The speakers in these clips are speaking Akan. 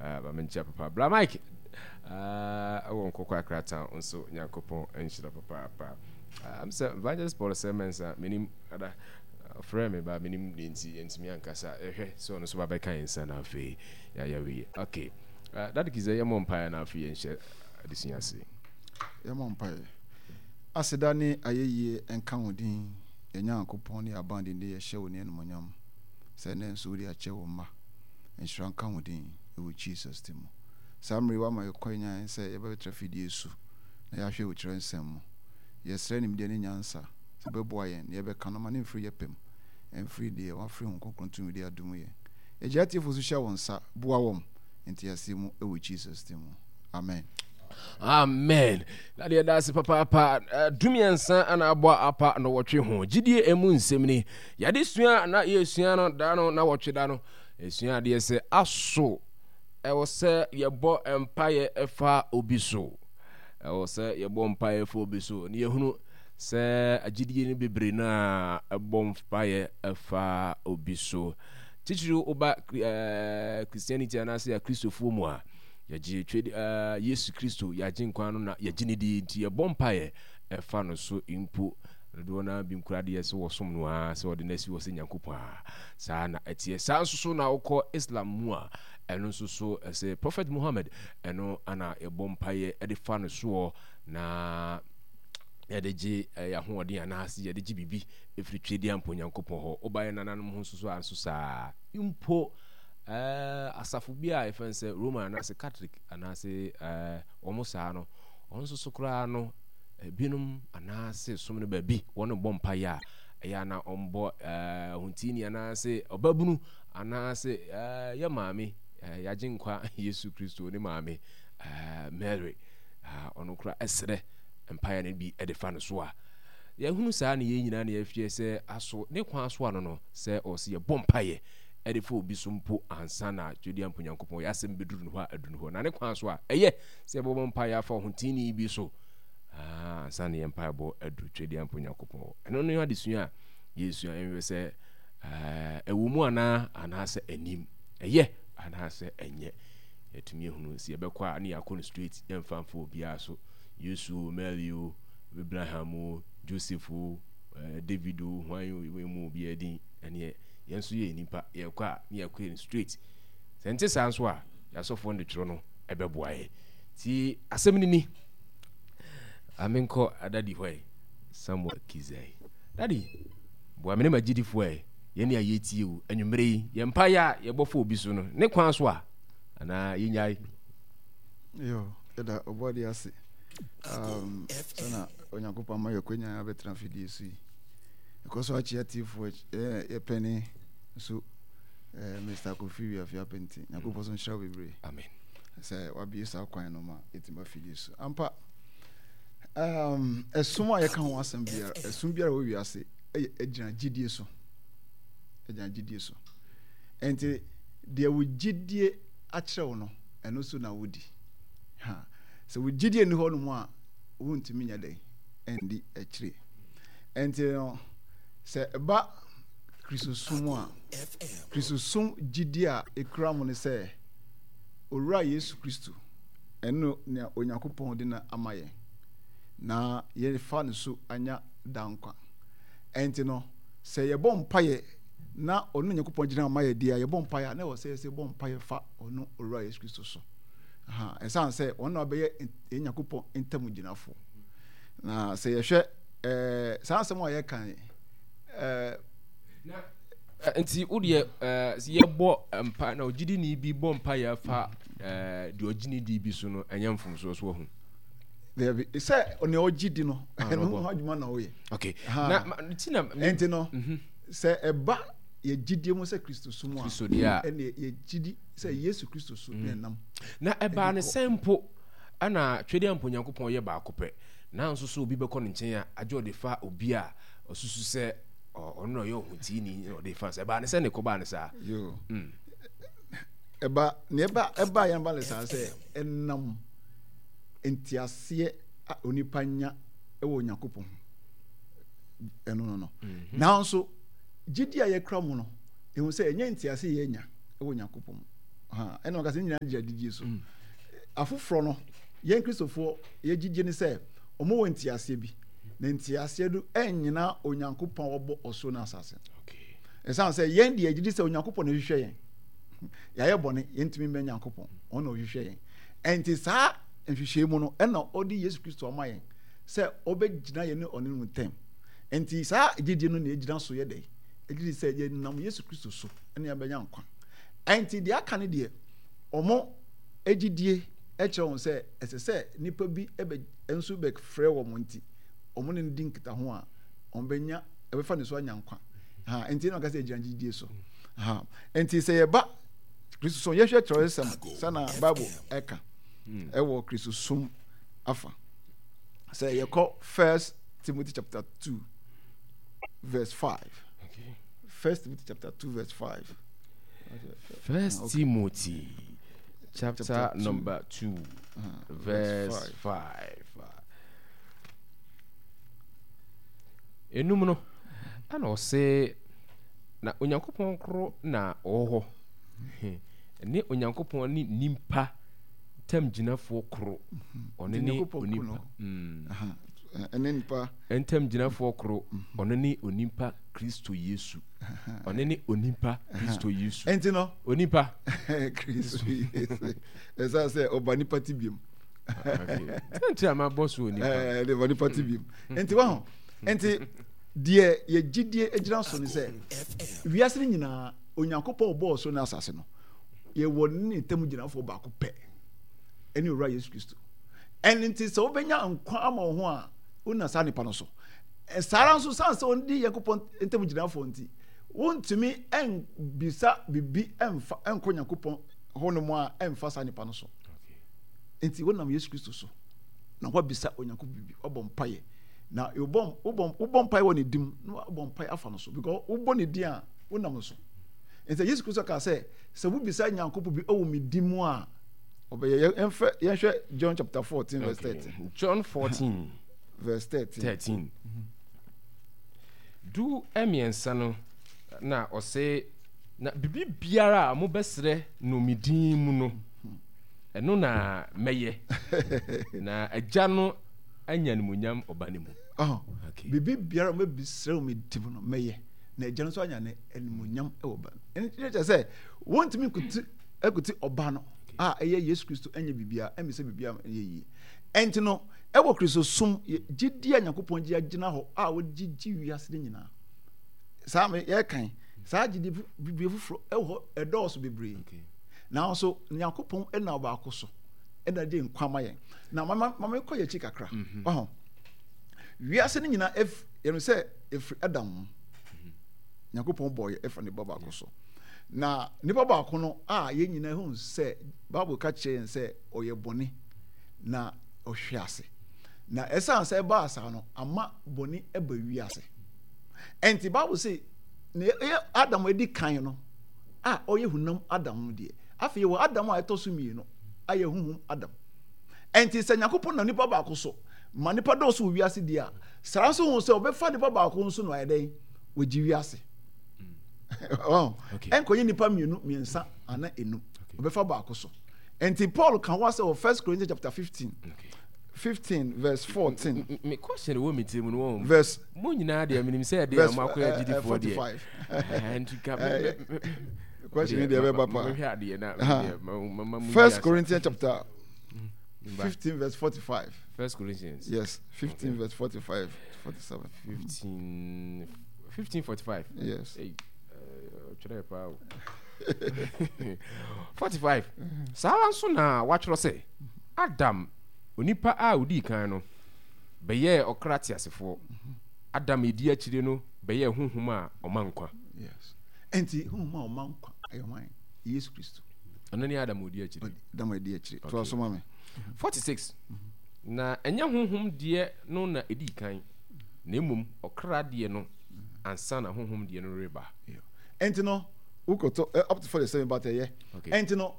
Ma menkyia papa Bra Mike ɛwɔ Nkɔkɔ Accra Town nso Nyankopɔn nhyira papaapa. Am sɛ Evangelist Paul sɛ Mensah menim ada ɔfrɛ me ba menim ne nti yɛntumi ankasa yɛhwɛ sɛ ɔno nso ba bɛka yɛn nsa na afei yɛayɛ wei. Okay. Daddy Kizɛ yɛmmɔ mpaeɛ na afei yɛnhyɛ adesua ase. Yɛmmɔ mpaeɛ. Aseda ne ayɛyie nka wo din, yɛn Nyankopɔn ne yɛn abandenden yɛhyɛ wo ne animuonyam sɛ ɛnnɛ nso wode akyɛ wo mma. Nhyira nka wo din wɔ Jesus din mu. Saa mmerɛ yi woama yɛn kwan nyan sɛ yɛbɛtra fidie su na yɛahwɛ wo twerɛnsɛm mu. Yɛsrɛ nimdeɛ ne nyansa sɛ wobɛboa yɛn na yɛbɛka no ma no mfiri yɛ pɛ mu, ɛmfiri deɛ wafiri Honhom Kronkron tumi de adom yɛn. Yɛgye atiefoɔ nso hyɛ wo nsa, boa wɔn nteaseɛ mu wɔ Jesus din mu. Amen. Amen. Na deɛ ɛda ase papaapa dumiɛnsa ana abɔ apa na wɔtwe ho. Gyidie emu nsɛm ni. Yɛde sua na yɛsua no da no na wɔtwe da no. Yɛsua adeɛ sɛ aso ɛwɔ sɛ yɛbɔ mpaeɛ ɛfa obi so. Ɛwɔ sɛ yɛbɔ mpaeɛ fa obi so. Na yɛhunu sɛ agyidie no bebree no a ɛbɔ mpaeɛ ɛfa obi so. Titiriw woba Christianity anaasɛ Akristofoɔ mu a, yɛgye twɛdi Yesu Kristo yɛn Agyenkwa no na yɛgye ne di nti yɛbɔ mpaeɛ ɛfa no so mpo. Dodoɔ no ara bi nkura deɛ sɛ wɔsom no ara sɛ wɔde no asi hɔ sɛ Nyankopɔn a saa na ɛteɛ. Saa nso so na wokɔ Islam mu a ɛno nso so ɛsɛ Prophet Muhammad ɛno ana yɛbɔ mpaeɛ ɛde fa no soɔ na yɛde gye yɛn ahoɔden anaasɛ yɛde gye biribi ɛfiri twedeɛ mpo Nyankopɔn hɔ. Woba yɛn nananom ho nso so a nso saa mpo. Asafo bi a yɛfrɛ no sɛ Roman anaasɛ Catholic anaasɛ wɔn saa no, wɔn nso so koraa no, ebinom anaasɛ som no baabi wɔn bɔ mpaeɛ a ɛyɛ ana wɔbɔ ahontini anaasɛ ɔbabunu anaasɛ yɛ maame yɛagye nkwa Yesu Kristo ne maame Mary ɔno koraa ɛsrɛ mpaeɛ no bi de fa no so a yɛhunu saa ne yɛn nyinaa ne yɛhwɛ sɛ aso ne kwan so ano no sɛ ɔsɛ yɛbɔ mpaeɛ de fa obi so mpo ansa na Twedeampo Nyankopɔn yɛ asɛm bɛduru no hɔ a aduru no hɔ. Na ne kwan so a, ɛyɛ sɛ yɛbɛbɔ mpaeɛ afa ɔhoteeni bi so ansa na yɛn mpaebɔ aduru Twedeampo Nyankopɔn hɔ. Ɛno ne adesua a yɛsua nhwɛ sɛ ɛwɔ mu anaa anaasɛ anim ɛyɛ anaasɛ ɛnyɛ. Yɛtumi ehunu sɛ yɛbɛkɔ a ne yɛakɔ no straight yɛmfa mfa obiara so. Yesu o, Mary o, Abraham o, Joseph o, David o, hwan o, mu obiara din ɛneɛ Yɛn nso yɛyɛ nnipa, yɛkɔ a ne yɛakɔ yɛn straight. Sɛ nte saa nso a, yɛn asɔfoɔ no de twerɛ no ɛbɛboa yɛn. Nti asɛm no ni. Amenkɔ adadi hɔ ɛ, Samuel Kizai. Dadi, boa me ne m'agyidifoɔ ɛ, yɛn a yɛtie o, anwummerɛ yi, yɛn mpaeɛ a yɛbɔ fa obi so no, ne kwan so a, anaa yɛnyae? Yo, yɛda ɔbɔadeɛ ase um, sɛna Onyankopɔn ama yɛkwanya abɛtena fidie so yi. Ɛkɔ so akyea tiefoɔ yɛ pɛne nso Mr. Kofi Wiafe Apɛnti. Nyankopɔn so nhyira wo bebree. Amen. Sɛ wabie saa kwan no ma yɛtumi ba fidie so. Ampa, um, ɛsom a yɛka ho asɛm biara, ɛsom biara wɔ wiase ɛyɛ ɛgyina gyidie so. Ɛgyina gyidie so. Ɛnti deɛ wo gyidie akyerɛ wo no, ɛno so na wodi. Ha. Sɛ wo gyidie nni hɔ nom a, wontumi nyɛ dɛn ɛndi akyire. Ɛnti no, sɛ ɛba Kristosom a, Kristosom gyidie a ɛkura mu ne sɛ Owura Yesu Kristo, ɛno nea Onyankopɔn de no ama yɛn, na yɛfa no so anya daa nkwa. Ɛnti no, sɛ yɛbɔ mpaeɛ na ɔno Onyankopɔn gyina ama yɛ deɛ a, yɛbɔ mpaeɛ a, na ɛwɔ sɛ yɛsɛ bɔ mpaeɛ fa ɔno Owura Yesu Kristo so. Ɛsiane sɛ ɔno na ɔbɛyɛ yɛn Nyankopɔn ntam gyinafoɔ. Na sɛ yɛhwɛ ɛɛ saa asɛm a yɛka yi ɛɛ. Na nti wo deɛ ɛɛ yɛbɔ mpa na ogyidini bi bɔ mpa yɛ fa ɛɛ deɛ ɔgye ne di bi so no ɛnyɛ mfomsoɔ so ɔho. Dabi sɛ nea ɔgye di no ah, ɛno ho adwuma na ɔyɛ. Okay na ti na. Nti no mhm. sɛ ɛba yɛ gyidie mu sɛ Kristo som a Kristo deɛ a ɛne yɛ gyidi sɛ Yesu Kristo so mhm. na ɛnam. Na ɛbaa ne sɛn mpo ɛna Twedeɛ mpo Nyankopɔn yɛ baako pɛ. Nanso so obi bɛkɔ ne nkyɛn a, agye ɔde fa obi a ɔsusu sɛ ɔno na ɔyɛ ɔhoteeni na ɔde fa sɛ ɛbaa ne sɛ ne kɔbaa ne saa. Yoo. Mm. Ɛba ne ɛba ɛba yɛn ba ne saa sɛ ɛnam nteaseɛ a onipa nya ɛwɔ Onyankopɔn ho ɛno no no. Mhm. Nanso gyidi a yɛkura mu no ehu sɛ ɛnyɛ nteaseɛ yɛnya ɛwɔ Onyankopɔn mu. Ɛna ɔka sɛ ne nyinaa gyina gyidie so. Afoforɔ no, yɛn Kristofoɔ yɛ gyidie ne sɛ wɔn wɔ nteaseɛ bi, na nteaseɛ no ɛnnyina Onyankopɔn a ɔbɔ ɔsoro ne asase. Ɛsiane sɛ yɛn deɛ yɛgyedi sɛ Onyankopɔn na ɛhwehwɛ yɛn. Yɛayɛ bɔne, yɛntumi mmɛn Nyankopɔn, ɔno na ɔhwehwɛ yɛn. Ɛnti saa nhwehwɛmu mu no, ɛna ɔde Yesu Kristo ama yɛn sɛ ɔbɛgyina yɛn ne ɔne no ntam. Ɛnti saa gyidie no na ɛgyina so yɛ dɛn? Ɛgyedi sɛ yɛnam Yesu Kristo so ɛna yɛbɛnya nkwa. Ɛnti deɛ aka no deɛ, wɔn gyidie kyerɛ wɔn sɛ ɛsɛ sɛ nnipa bi bɛ nso bɛfrɛ wɔn nti wɔn ne no di nkitaho a wɔbɛnya ɛbɛfa ne so anya nkwa. Ha nti na ɔka sɛ gyina gyidie so. Ha nti sɛ yɛba Kristo som yɛhwɛ kyerɛwsɛm sɛ na Bible ɛka ɛwɔ Kristo som afa. Sɛ yɛkɔ First Timothy chapter 2 verse 5. Okay. First Timothy chapter 2 verse 5. First okay. Timothy chapter, chapter number 2 verse 5. Enum no, ɛna ɔse na Onyankopɔn koro na ɔwɔ hɔ ne Onyankopɔn ne nimpa ntamgyinafoɔ koro ɔno ne onipa ɛne nipa ntamgyinafoɔ koro ɔno ne onipa Kristo Yesu ɔno ne onipa Kristo Yesu ɛnti no onipa Kristo Yesu ɛsɛ sɛ ɔba nipa ti biom nti a mabɔ so onipa ɛde ba nipa ti biom nti waho nti deɛ yɛgyidie gyina so ne sɛ wiase no nyinaa Onyankopɔn ɔbɔɔ so ne asase no yɛwɔ ne ntam gyinafoɔ baako pɛ ɛne owura Yesu Kristo ɛno nti sɛ wobɛnya nkwa ama wo ho a wona saa nipa no so saa ara nso san sɛ ɔdi Nyankopɔn ntam gyinafoɔ nti wontumi bisa biribi ɛmfa ɛnkɔ Nyankopɔn hɔ nom a ɛmfa saa nipa no so nti wonam Yesu Kristo so na woabisa Onyankopɔn biribi wabɔ mpaeɛ na wobɔ wobɔ mpaeɛ wɔ ne dim na wabɔ mpaeɛ afa no so because wobɔ ne din a wonam no so nti Yesu Kristo kaa sɛ sɛ wobisa Nyankopɔn bi wɔ me din mu a ɔbɛyɛ. Yɛmfɛ yɛnhwɛ John chapter 14 verse 13. John 14 verse 13. 13. 13 no na ɔse na biribi biara a mobɛsrɛ no me din mu no ɛno na mɛyɛ na agya no anya animuonyam ɔba no mu. Oh, okay. Biribi biara a mobɛsrɛ wɔ me din mu no mɛyɛ na agya no nso anya ne animuonyam wɔ ba no. Ɛno kyerɛ sɛ wɔntumi nkuti akuti ɔba no a ɛyɛ Yesu Kristo ɛnyɛ biribiara ɛmmisa biribiara ɛnyɛ yie. Ɛnti no ɛwɔ Kristo som gyidie a Nyankopɔn gye agyina hɔ a wɔgye gye wiase no nyinaa. Saa yɛkan saa gyidie bibie foforɔ ɛwɔ hɔ ɛdɔɔso bebree. Nanso Nyankopɔn ɛna ɔbaako so ɛna gye nkwa ma yɛn. Na mama mama kɔ yɛn akyi kakra. Mhm. Ɔho wiase no nyinaa ɛf yɛn sɛ ɛfiri Adam mu. Mhm. Nyankopɔn bɔɔ yɛ ɛfa ne ba baako so. Na nipa baako no a yɛn nyinaa hu sɛ Bible ka kyerɛ yɛn sɛ ɔyɛ bɔne na ɔhwe ase. Na ɛsiane sɛ ɛbaa saa no, ama bɔne ba wiase. Ɛnti Bible se na ɛyɛ Adam a edi kan no a ɔyɛ hunam Adam no deɛ. Afei yɛwɔ Adam a ɛtɔ so mmienu a yɛ honhom Adam. Ɛnti sɛ Nyankopɔn nam nipa baako so ma nipa dɔɔso wɔ wiase deɛ a, saa nso hu sɛ ɔbɛfa nipa baako nso na ɔayɛ dɛn? Wagye wiase. Ɛnkɔyɛ nipa mmienu, mmiɛnsa ana enum. Ɔbɛfa baako so. Nti Paul ka ho asɛ wɔ First Corinthians chapter 15. Okay. 15 verse 14. Me question wɔ me tirim no wɔn. Verse. Mo nyinaa deɛ menim sɛ ɛdeɛ a mo akɔyɛ agyidifoɔ deɛ. Nti ka Question ni deɛ ɛbɛba pa. Mehwɛ adeɛ na First Corinthians chapter 15 verse 45. First Corinthians. Yes, 15 okay. verse 45 47. 15 1545. Yes. Hey, twerɛ paa o. 45. Saa ara nso na wɔatwerɛ sɛ Adam, onipa a odii kan no, bɛyɛɛ ɔkra teasefoɔ. Adam a edi akyire no bɛyɛɛ honhom a ɔma nkwa. Yes. Enti honhom a ɔma nkwa ɛyɛ hwan? Yesu Kristo. Ɔno ne Adam a odi akyire. Adam a edi akyire. To aso ma me. 46. Na ɛnyɛ honhom deɛ no na edii kan, na mmom ɔkra deɛ no ansa na honhom deɛ no reba. Enti no, wokɔtɔ eh, up to 47 but ɛyɛ. Enti no,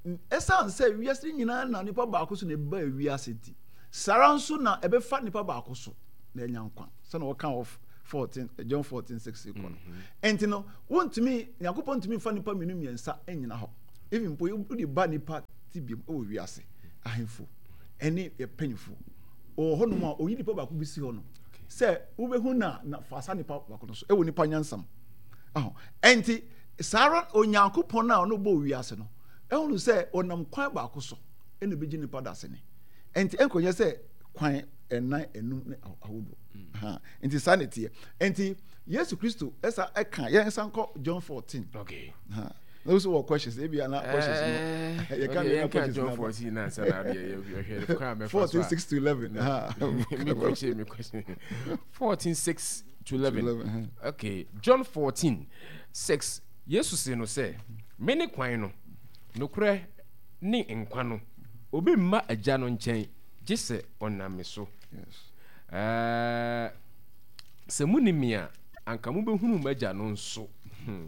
ɛsiane sɛ wiase nyinaa na nipa baako so na ɛbaa wiase nti, saa ara nso na ɛbɛfa nipa baako so na anya nkwa sɛna wɔka wɔ 14 John 14 6 kɔ no. Mhm. Enti no, wontumi Nyankopɔn ntumi mfa nipa mmienu mmiɛnsa nnyina hɔ. Even mpo wode ba nipa tebea mu wɔ wiase, ahemfo ɛne mpanyinfo wɔ hɔnom a oyi nipa baako bi si hɔ no sɛ wobɛhu na na fa saa nipa baako no so ɛwɔ nipa nyansam. Aho. Ɛnti saa ara Onyankopɔn a ɔno bɔɔ wiase no ɛhunu sɛ ɔnam kwan baako so ɛna ebegye nipa dasene. Ɛnti ɛnkɔnyɛ sɛ kwan ɛnan enum ne ahodoɔ. Mm. Nti saa na ɛteɛ. Nti Yesu Kristo ɛsa ɛka yɛn nsa nkɔ John 14. Okay. Na wo so wɔ questions ebi ana questions no. Eh, yɛ ka mi na questions na. John 14 na nsa na adeɛ yɛ hwɛ kwan mɛfa so. 14 6 to 11. Mi question mi question. 14 6 to 11. Okay, John 14 6 Yesu se no sɛ, Mene kwan no, nokorɛ ne nkwa no, obi mma Agya no nkyɛn gye sɛ ɔnam me so. Ɛɛ, sɛ munim me a, anka mobɛhunu m'Agya no nso. Hmm.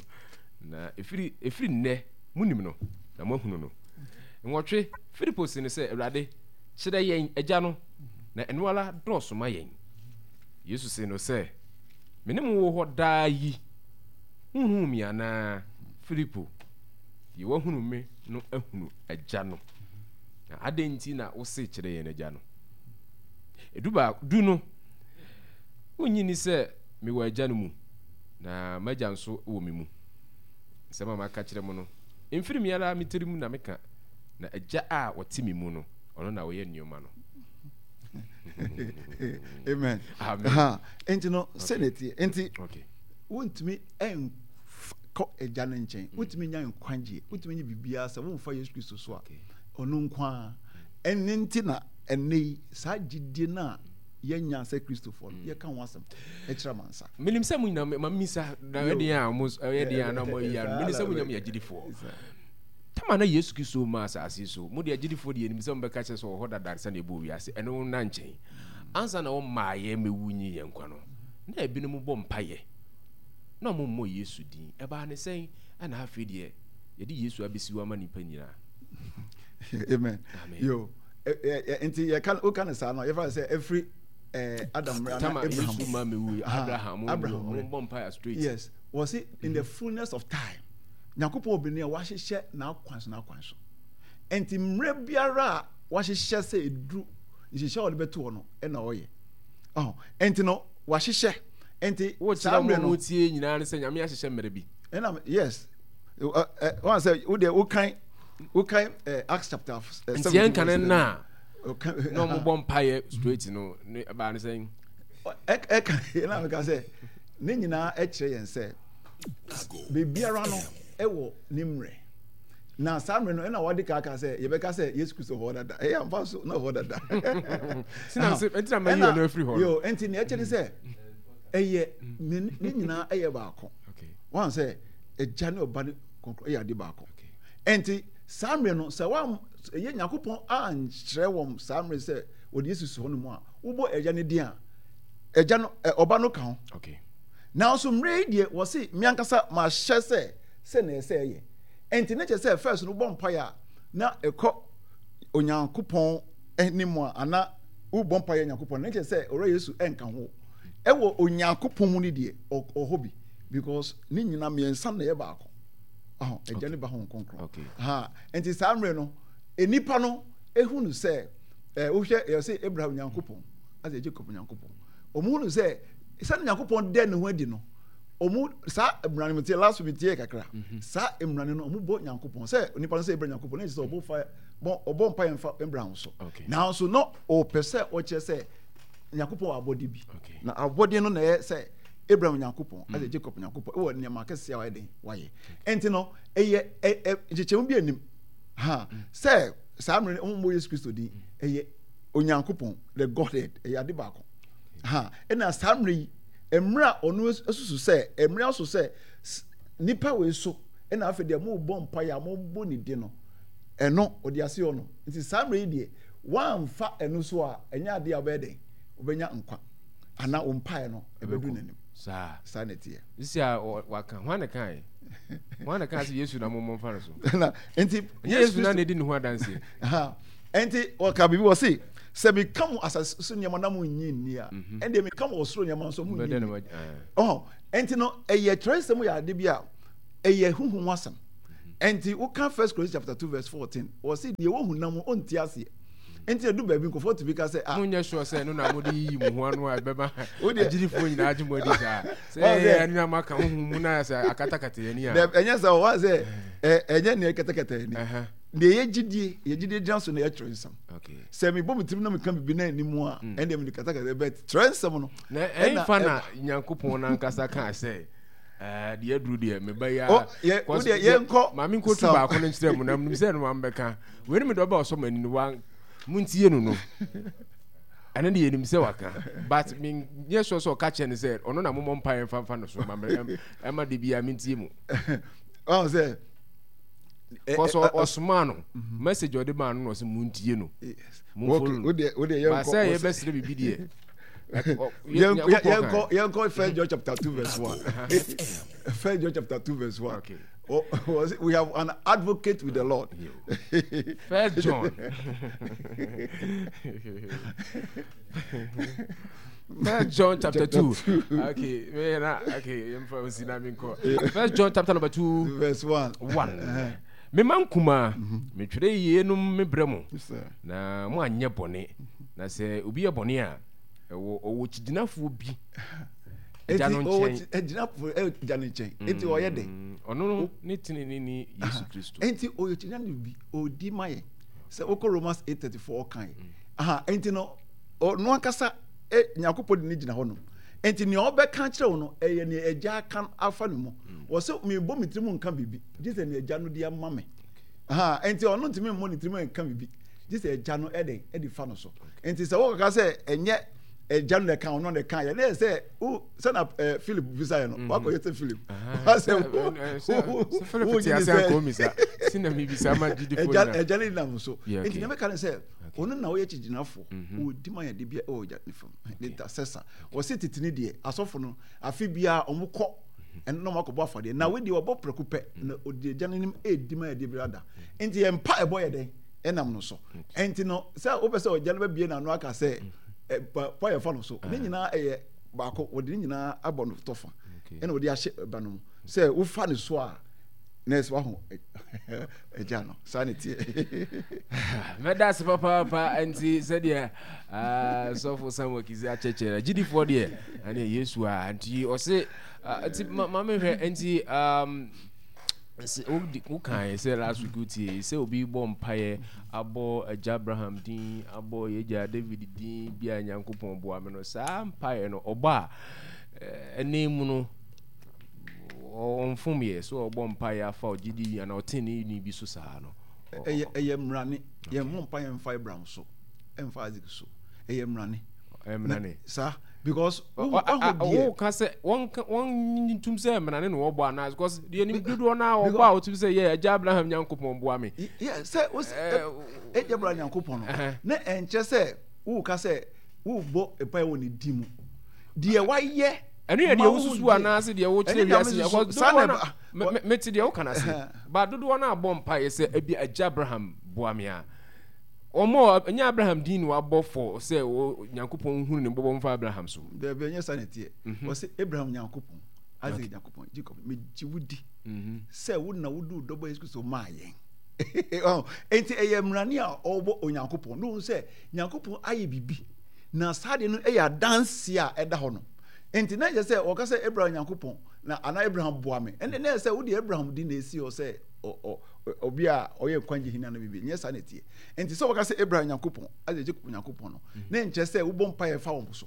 Na ɛfiri, ɛfiri nnɛ monim no, na moahunu no. Nwɔtwe, Filipo se no sɛ, Awurade, kyerɛ yɛn Agya no, na ɛno ara dɔɔso ma yɛn. Yesu see no sɛ, Me ne mo wɔ hɔ daa yi, wonhuu me anaa, Filipo? Deɛ wahunu me no ahunu Agya no. Na adɛn nti na wose kyerɛ yɛn Agya no? Edu baako, du no, wonnye nni sɛ mewɔ Agya no mu, na m'Agya nso wɔ me mu. Nsɛm a maka kyerɛ mo no, ɛmfiri me ara me tirim na meka, na Agya a ɔte me mu no, ɔno na ɔyɛ nneɛma no. Amen. Amen. Nti no, sɛ na ɛteɛ. Nti, wontumi kɔ Agya no nkyɛn, mm. wontumi nya nkwagyeɛ, wontumi nye biribiara sɛ womfa Yesu Kristo so a, ɔno nko ara. Ɛno nti na ɛnnɛ yi, saa gyidie no a yɛnya sɛ Kristofoɔ no, mm. yɛka ho asɛm ɛkyerɛ amansa. Menim sɛ mo nyinaa ma mmisa na ɛyɛ den a mo ɛyɛ den a na mo ayi ano. Menim sɛ mo nyinaa mo yɛ agyidifoɔ. Tama na Yesu Kristo ma asase so. Mo deɛ agyidifoɔ deɛ yɛnim sɛ mobɛka kyerɛ sɛ ɔwɔ hɔ dada sɛdeɛ ɛbɔɔ wiase. Ɛno nna nkyɛn. Ansa na ɔmmaeɛ mmɛwu nyi yɛn nkwa no, na ebinom bɔ mpaeɛ na wɔmmɔ Yesu din. Ɛbaa ne sɛn na afei deɛ yɛde Yesu abɛsi hɔ ama nnipa nyinaa? Amen. Amen. Yo. Nti yɛka woka no saa no yɛfa sɛ ɛfiri Adam mmerɛ na Abraham. Yesu ma mewu Abraham Abraham wɔn bɔ mpaeɛ straight. Yes. Wɔsi in the fullness of time Nyankopɔn wɔ bere a wahyehyɛ n'akwan so n'akwan so. Nti mmerɛ biara a wahyehyɛ sɛ eduru nhyehyɛ a ɔde bɛto hɔ no ɛna ɔyɛ. Ɔho nti no wahyehyɛ nti saa mmerɛ no. Wokyerɛ wɔn tie nyinaa ne sɛ Nyame ahyehyɛ mmerɛ bi. Ɛna yes wɔn sɛ wo deɛ wokan wokan Acts chapter 17. Nti yɛn kan na na wɔn bɔ mpaeɛ straight no ne ɛbaa ne sɛn. Ɛka ɛna meka sɛ ne nyinaa ɛkyerɛ yɛn sɛ biribiara no ɛwɔ ne mmerɛ na saa mmerɛ no ɛna wɔde kaaka sɛ yɛbɛka sɛ Yesu Kristo hɔ dada ɛyɛ amfa so na hɔ dada. Ɛnti na mɛyi ɔno afiri hɔ. Yo ɛnti nea ɛkyɛ ne sɛ ɛyɛ ne nyinaa ɛyɛ baako. Wɔn sɛ ɛgya ne ɔba ne kɔnkɔn ɛyɛ ade baako. Ɛnti saa mmerɛ no sɛ wɔn ɛyɛ Nyankopɔn ankyerɛ wɔn saa mmerɛ sɛ wɔde Yesu si hɔ no mu a wobɔ ɛgya ne din a ɛgya no ɔba no ka ho. Nanso mmerɛ yi deɛ wɔse me ankasa mahyɛ sɛ sɛ na ɛsɛ ɛyɛ. Ɛnti ne kyerɛ sɛ first no wobɔ mpaeɛ a na ɛkɔ Onyankopɔn anim a ana wobɔ mpaeɛ Nyankopɔn ne kyerɛ sɛ ɔwura Yesu ɛnka ho. Ɛwɔ Onyankopɔn mu no deɛ ɔhɔ bi because ne nyina mmiɛnsa na ɛyɛ baako. Ɔhɔ agya ne ba ho nkonkron. Ha nti saa mmerɛ no nnipa no ehunu sɛ ɛɛ wohwɛ yɛ sɛ Abraham Nyankopɔn asɛ Jacob Nyankopɔn. Wɔn hunu sɛ sɛde Nyankopɔn dɛ ne ho adi no wɔn saa mmara no tie last week tie kakra mhm. saa mmara no wɔn bɔ Nyankopɔn sɛ nipa no sɛ Abraham Nyankopɔn ne sɛ ɔbɔ fa bɔ ɔbɔ mpa yɛn fa Abraham so nanso no ɔpɛ sɛ ɔkyerɛ sɛ Nyankopɔn wɔ abɔde bi na abɔde no na ɛyɛ sɛ Abraham Nyankopɔn ɛsɛ mm. Jacob Nyankopɔn ɛwɔ nneɛma akɛseɛ a wayɛ den wayɛ ɛnti no ɛyɛ ɛ ɛ nkyekyɛmu bi anim ha mm. sɛ saa mmerɛ no wɔn bɔ Yesu Kristo din mm. ɛyɛ Onyankopɔn the Godhead ɛyɛ ade baako ha ɛna saa mmerɛ yi mmerɛ a ɔno asusu sɛ mmerɛ aso sɛ nipa wei so ɛna afei deɛ mo bɔ mpa yɛ a mo bɔ ne di no ɛno ɔde ase ɔno nti saa mmerɛ yi deɛ wɔamfa ɛno so a ɛnyɛ adeɛ a ɔbɛyɛ dɛn ɔbɛnya nkwa anaa wo mpaeɛ no ɛbɛdu n'anim saa saa na ɛteɛ sisi a waka hwan na kae hwan na kae sɛ yesu na mo mfa no so na nti yesu na na edi ne ho adanseɛ nti wɔka biribi wɔ se sɛ meka mo asase so nneɛma na mo nyi nni a mhm. ɛndeɛ meka mo ɔsoro nneɛma nso mo nyi nni ɔhɔ nti no ɛyɛ twerɛsɛm yɛ ade bi a ɛyɛ huhum asɛm mhm. Ɛnti woka First Corinthians chapter 2 verse 14, wɔse deɛ wɔhu nam ɔnte aseɛ. Nti edu baabi nkurɔfoɔ tumi ka sɛ ah. Monyɛ sure sɛ ɛno na mode yiyi mo ho ano a ɛbɛma agyidifoɔ nyinaa agye mo adi saa. Sɛ ɛyɛ ɛno na moaka honhom mu na sɛ akatakata yɛn ani a. Ɛnyɛ sɛ wɔn sɛ ɛnyɛ nea ɛkatakata yɛn ani. Deɛ yɛ gyidie yɛ gyidie gyina so na yɛ twerɛ nsɛm. Sɛ mebɔ me tirim na meka biribi na anim a mm. ɛndeɛ mede katakata bɛ twerɛ nsɛm no. Na ɛmfa na Nyankopɔn n'ankasa kaa sɛ deɛ aduru deɛ meba yi a. Yɛnkɔ maame nkotu baako no nkyerɛ mu na menim sɛ ɛno ambɛka. Wei ne mede ɔba ɔsɔ m'ani no wa montie no no ɛno deɛ yɛnim sɛ waka but menyɛ sure sɛ ɔka kyerɛ no sɛ ɔno na momɔ mpaeɛ mfa mfa no so ma ɛma de biara mentie mu. Ɔn sɛ kɔsɔ ɔsomaa no mhm. message ɔde maa no na ɔsɛ montie no momfollow no ba sɛ yɛbɛsrɛ biribi deɛ yɛnkɔ First John chapter 2 verse 1. First John chapter 2 verse 1. Okay. We have an advocate with the Lord. First John. First John chapter 2. Okay. Okay. First John chapter number 2. Verse 1. 1. Uh-huh. Mema nkumaa, mhm. metwerɛ yeinom mebrɛ mo, na moanyɛ bɔne. Na sɛ obi yɛ bɔne a, ɛwɔ ɔwɔ kyigyinafoɔ bi Agya no nkyɛn. Agyinafoɔ agya no nkyɛn. Enti ɔyɛ dɛ. Mm, ɔno no ne teneneni Yesu Kristo. Enti ɔyɛ kyinani bi, ɔdi ma yɛn. Sɛ wokɔ Romans 8:34 ɔka yɛ. Mm. Aha, enti no ɔno ankasa e, Nyankopɔn de ne gyina hɔ no. Enti nea ɔbɛka kyerɛ wo no, ɛyɛ nea agya aka afa ne mu. Mm. Wɔsɛ mebɔ me tirim nka biribi, gye sɛ nea agya no de ama me. Aha, enti ɔno ntumi mmɔ ne tirim nka biribi, gye sɛ agya no ɛde ɛde fa no so. Enti sɛ wokɔka sɛ ɛnyɛ agya no na ɛka ɔno na ɛka yɛ ne yɛ sɛ wo sɛna eh, philip bisa yɛ no mhm. wakɔyɛ sɛ philip wasɛ agya ne nam so nti na mɛka ne sɛ ɔno na woyɛ kyigyinafoɔ mhm. ɔdi ma yɛde bia ɛwɔ agya ne fam ne ntasɛsa wɔse tete ne deɛ asɔfo no afe biara ɔmo kɔ mhm. ɛno na ɔmo akɔbɔ afɔdeɛ na wei deɛ ɔbɔ prɛko pɛ na ɔdi agya no anim ɛdi ma yɛde bia da nti yɛn mpa ɛbɔ yɛ dɛn ɛnam no so nti no sɛ wopɛ sɛ ɔgya no bɛbie n'ano aka sɛ pa yɛfa no so ne nyinaa ɛyɛ baako wɔde ne nyinaa abɔ no tɔfa ɛna wɔde ahyɛ ɛba no mu sɛ wofa ne so a na ɛsɛ waho agya no saa ne teɛ. Mɛda ase papaapa nti sɛdeɛ ah, sɔfo Samuel Kizzi akyɛkyɛ no agyidifoɔ deɛ ɛne Yesu a nti ɔse ah, nti ma mehwɛ nti um, wokae sɛ last week wotie sɛ obi bɔ mpaeɛ abɔ agya Abraham din abɔ yɛgya David din bi a Nyankopɔn boa me no saa mpaeɛ no ɔbɔ a ɛne mu no ɔmfom yɛ sɛ ɔbɔ mpaeɛ afa ɔgyedi anaa ɔtenene bi so saa no ɛyɛ ɛyɛ mmerane yɛn mmɔ mpaeɛ mfa Abraham so ɛmfa Isaac so ɛyɛ mmerane mmerane saa because wo deɛ woka sɛ wɔn wɔn ntum sɛ mmerane na wɔbɔ anaa because deɛ nim dodoɔ no a wɔbɔ a wɔtum sɛ yɛ agya Abraham Nyankopɔn boa me yɛ sɛ agya Abraham Nyankopɔn no na ɛnkyerɛ sɛ woka sɛ wobɔ mpaeɛ wɔ ne din mu deɛ wayɛ ɛno yɛ deɛ wosusu anaasɛ deɛ wokyerɛ wiase nyɛ because dodoɔ no mete deɛ woka no ase ba dodoɔ no abɔ mpaeɛ sɛ ebi agya Abraham boa me a wɔn ɛnyɛ Abraham din na wabɔ fɔ sɛ Nyankopɔn hunu ne bɔbɔ mfa Abraham so. Daabi ɛnyɛ saa na ɛteɛ mhm. wɔsɛ Abraham Nyankopɔn Isaac Nyankopɔn Jacob megye wo di mhm. sɛ wo na wode wo dɔbɔ Yesu Kristo maa yɛn enti ɛyɛ mmerane a ɔwɔ Onyankopɔn na ohun sɛ Nyankopɔn ayɛ biribi na saa deɛ no yɛ adanse a ɛda hɔ no nti na yɛ sɛ wɔka sɛ Abraham Nyankopɔn na anaa Abraham boa me ɛnna na yɛ sɛ wode Abraham di na esi hɔ sɛ obi a ɔyɛ nkwagye hene ana biribi nyɛ saa na ɛteɛ nti sɛ wɔka sɛ Abraham Nyankopɔn Isaac Jacob Nyankopɔn no mm. na nkyerɛ sɛ wobɔ mpa yɛ fa wɔn so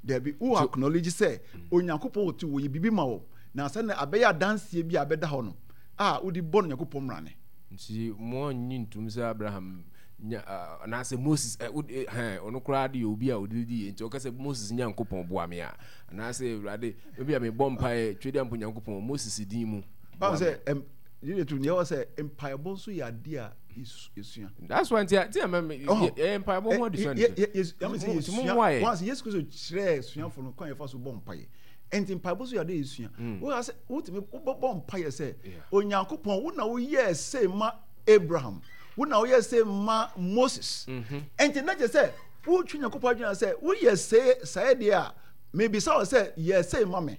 daabi wo acknowledge sɛ mm. Onyankopɔn wɔ ti wɔyɛ biribi ma wɔn na sɛ na abɛyɛ adanseɛ bi a abɛda hɔ no a wode bɔ no Nyankopɔn mmrane. Nti mo annye ntom sɛ Abraham nya anaasɛ Moses ɛ wo hɛn ɔno koraa de yɛ obi a ɔde di yɛ nti ɔka sɛ Moses Nyankopɔn boa me a anaasɛ Awurade ebi a mebɔ mpaeɛ Twedeampo Nyankopɔn Moses din mu boa me. Sɛ yɛyɛ tu nea ɛwɔ sɛ mpaebɔ nso yɛ adeɛ a yɛsua. That's why nti nti ama me yɛ mpaebɔ ho adesua ne sɛ. Mo mmoa yɛ. Wɔn ase Yesu Kristo kyerɛɛ suafo no kwan yɛfa so bɔ mpaeɛ. Nti mpaebɔ nso yɛ adeɛ yɛsua. Wɔn ase wotumi wobɛbɔ mpaeɛ sɛ Onyankopɔn wo na woyɛɛ sei ma Abraham wo na woyɛ sei ma Moses mhm. nti na kyerɛ sɛ wotwe Nyankopɔn adwene sɛ woyɛ sei saa deɛ a mebisa wo sɛ yɛ sei ma me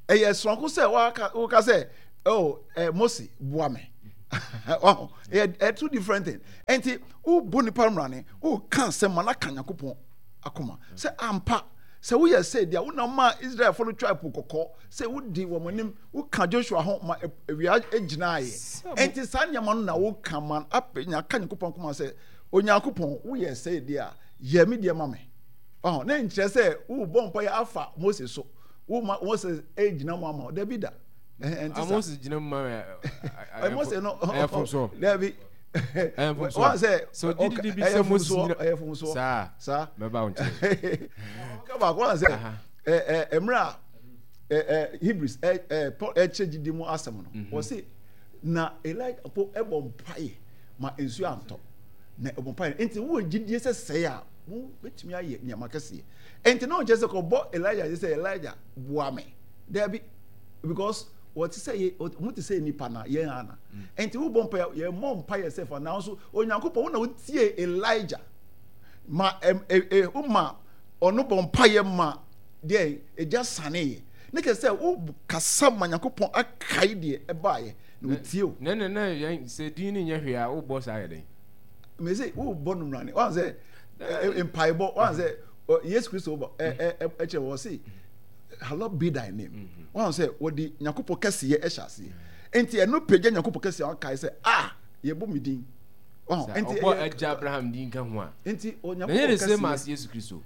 ɛyɛ soronko sɛ woka sɛ oh, eh, Mose boa me mhm. Wahu? Ɛyɛ ɛyɛ two different thing. Ɛnti wobɔ nipa mmrane, woka asɛm ma no aka Nyankopɔn akoma sɛ ampa sɛ woyɛ sɛ deɛ wonam maa Israelfoɔ no twaa po kɔkɔɔ sɛ wodi wɔn anim woka Joshua ho ma awia gyinaeɛ. Ɛnti saa nneɛma no na woka ma apɛ aka Nyankopɔn akoma sɛ Onyankopɔn woyɛ sɛ deɛ a yɛ me deɛ ma me. Wahu? Na nkyerɛ sɛ wobɔ mpaeɛ afa Mose so. Woma Mose gyina mu ama wo. Dabi da. Ɛnti sa. Moses gyina mu ma ɛ. Mose no. Ɛyɛ fomso. Dabi. Ɛyɛ fomso. Wɔn sɛ. So didi di bi sɛ Moses gyina. Ɛyɛ fomso. Saa. Saa. Mɛba wo nkyɛn. Ɔka baako wɔn sɛ ɛ ɛ mmerɛ a ɛ ɛ Hebrews ɛ ɛ Paul ɛkyerɛ gyidi mu asɛm no. Wɔsi na Elijah po ɛbɔ mpaeɛ ma nsuo antɔ na ɛbɔ mpaeɛ nti wowɔ gyidie sɛ sɛɛ a mo bɛtumi ayɛ nneɛma kɛseɛ nti na ɔnkyerɛ sɛ kɔbɔ Elijah sɛ Elijah boa me daabi. Because wɔte sɛ yɛ wɔn te sɛ nipa na yɛn ana. Mm. Nti wobɔ mpa yɛ mmɔ mpa yɛ sɛ fa nanso Onyankopɔn wo na wotie Elijah ma ɛm ɛ ɛ woma ɔno bɔ mpa yɛ ma deɛ egya sane yɛ. Ne kyerɛ sɛ wo kasa ma Nyankopɔn akae deɛ ɛbaayɛ na otie o. Ne ne ne yɛn sɛ din ne nyɛ hwee a wobɔ saa yɛ dɛn? Mɛ sɛ wobɔ no mmrane wɔn sɛ mpaebɔ wɔn sɛ Yesu Kristo bɔ ɛ ɛ ɛkyerɛ wɔ se. Hallowed be thy name. Mm-hmm. Wɔn sɛ wɔde Nyankopɔn kɛseyɛ ɛhyɛ aseɛ. Nti ɛno pagya Nyankopɔn kɛseyɛ wɔn kae sɛ ah yɛbɔ mi din. Wɔn nti ɔbɔ ɛgya Abraham din ka ho a. Nti Onyankopɔn kɛseyɛ. Na yɛ the same as Yesu Kristo.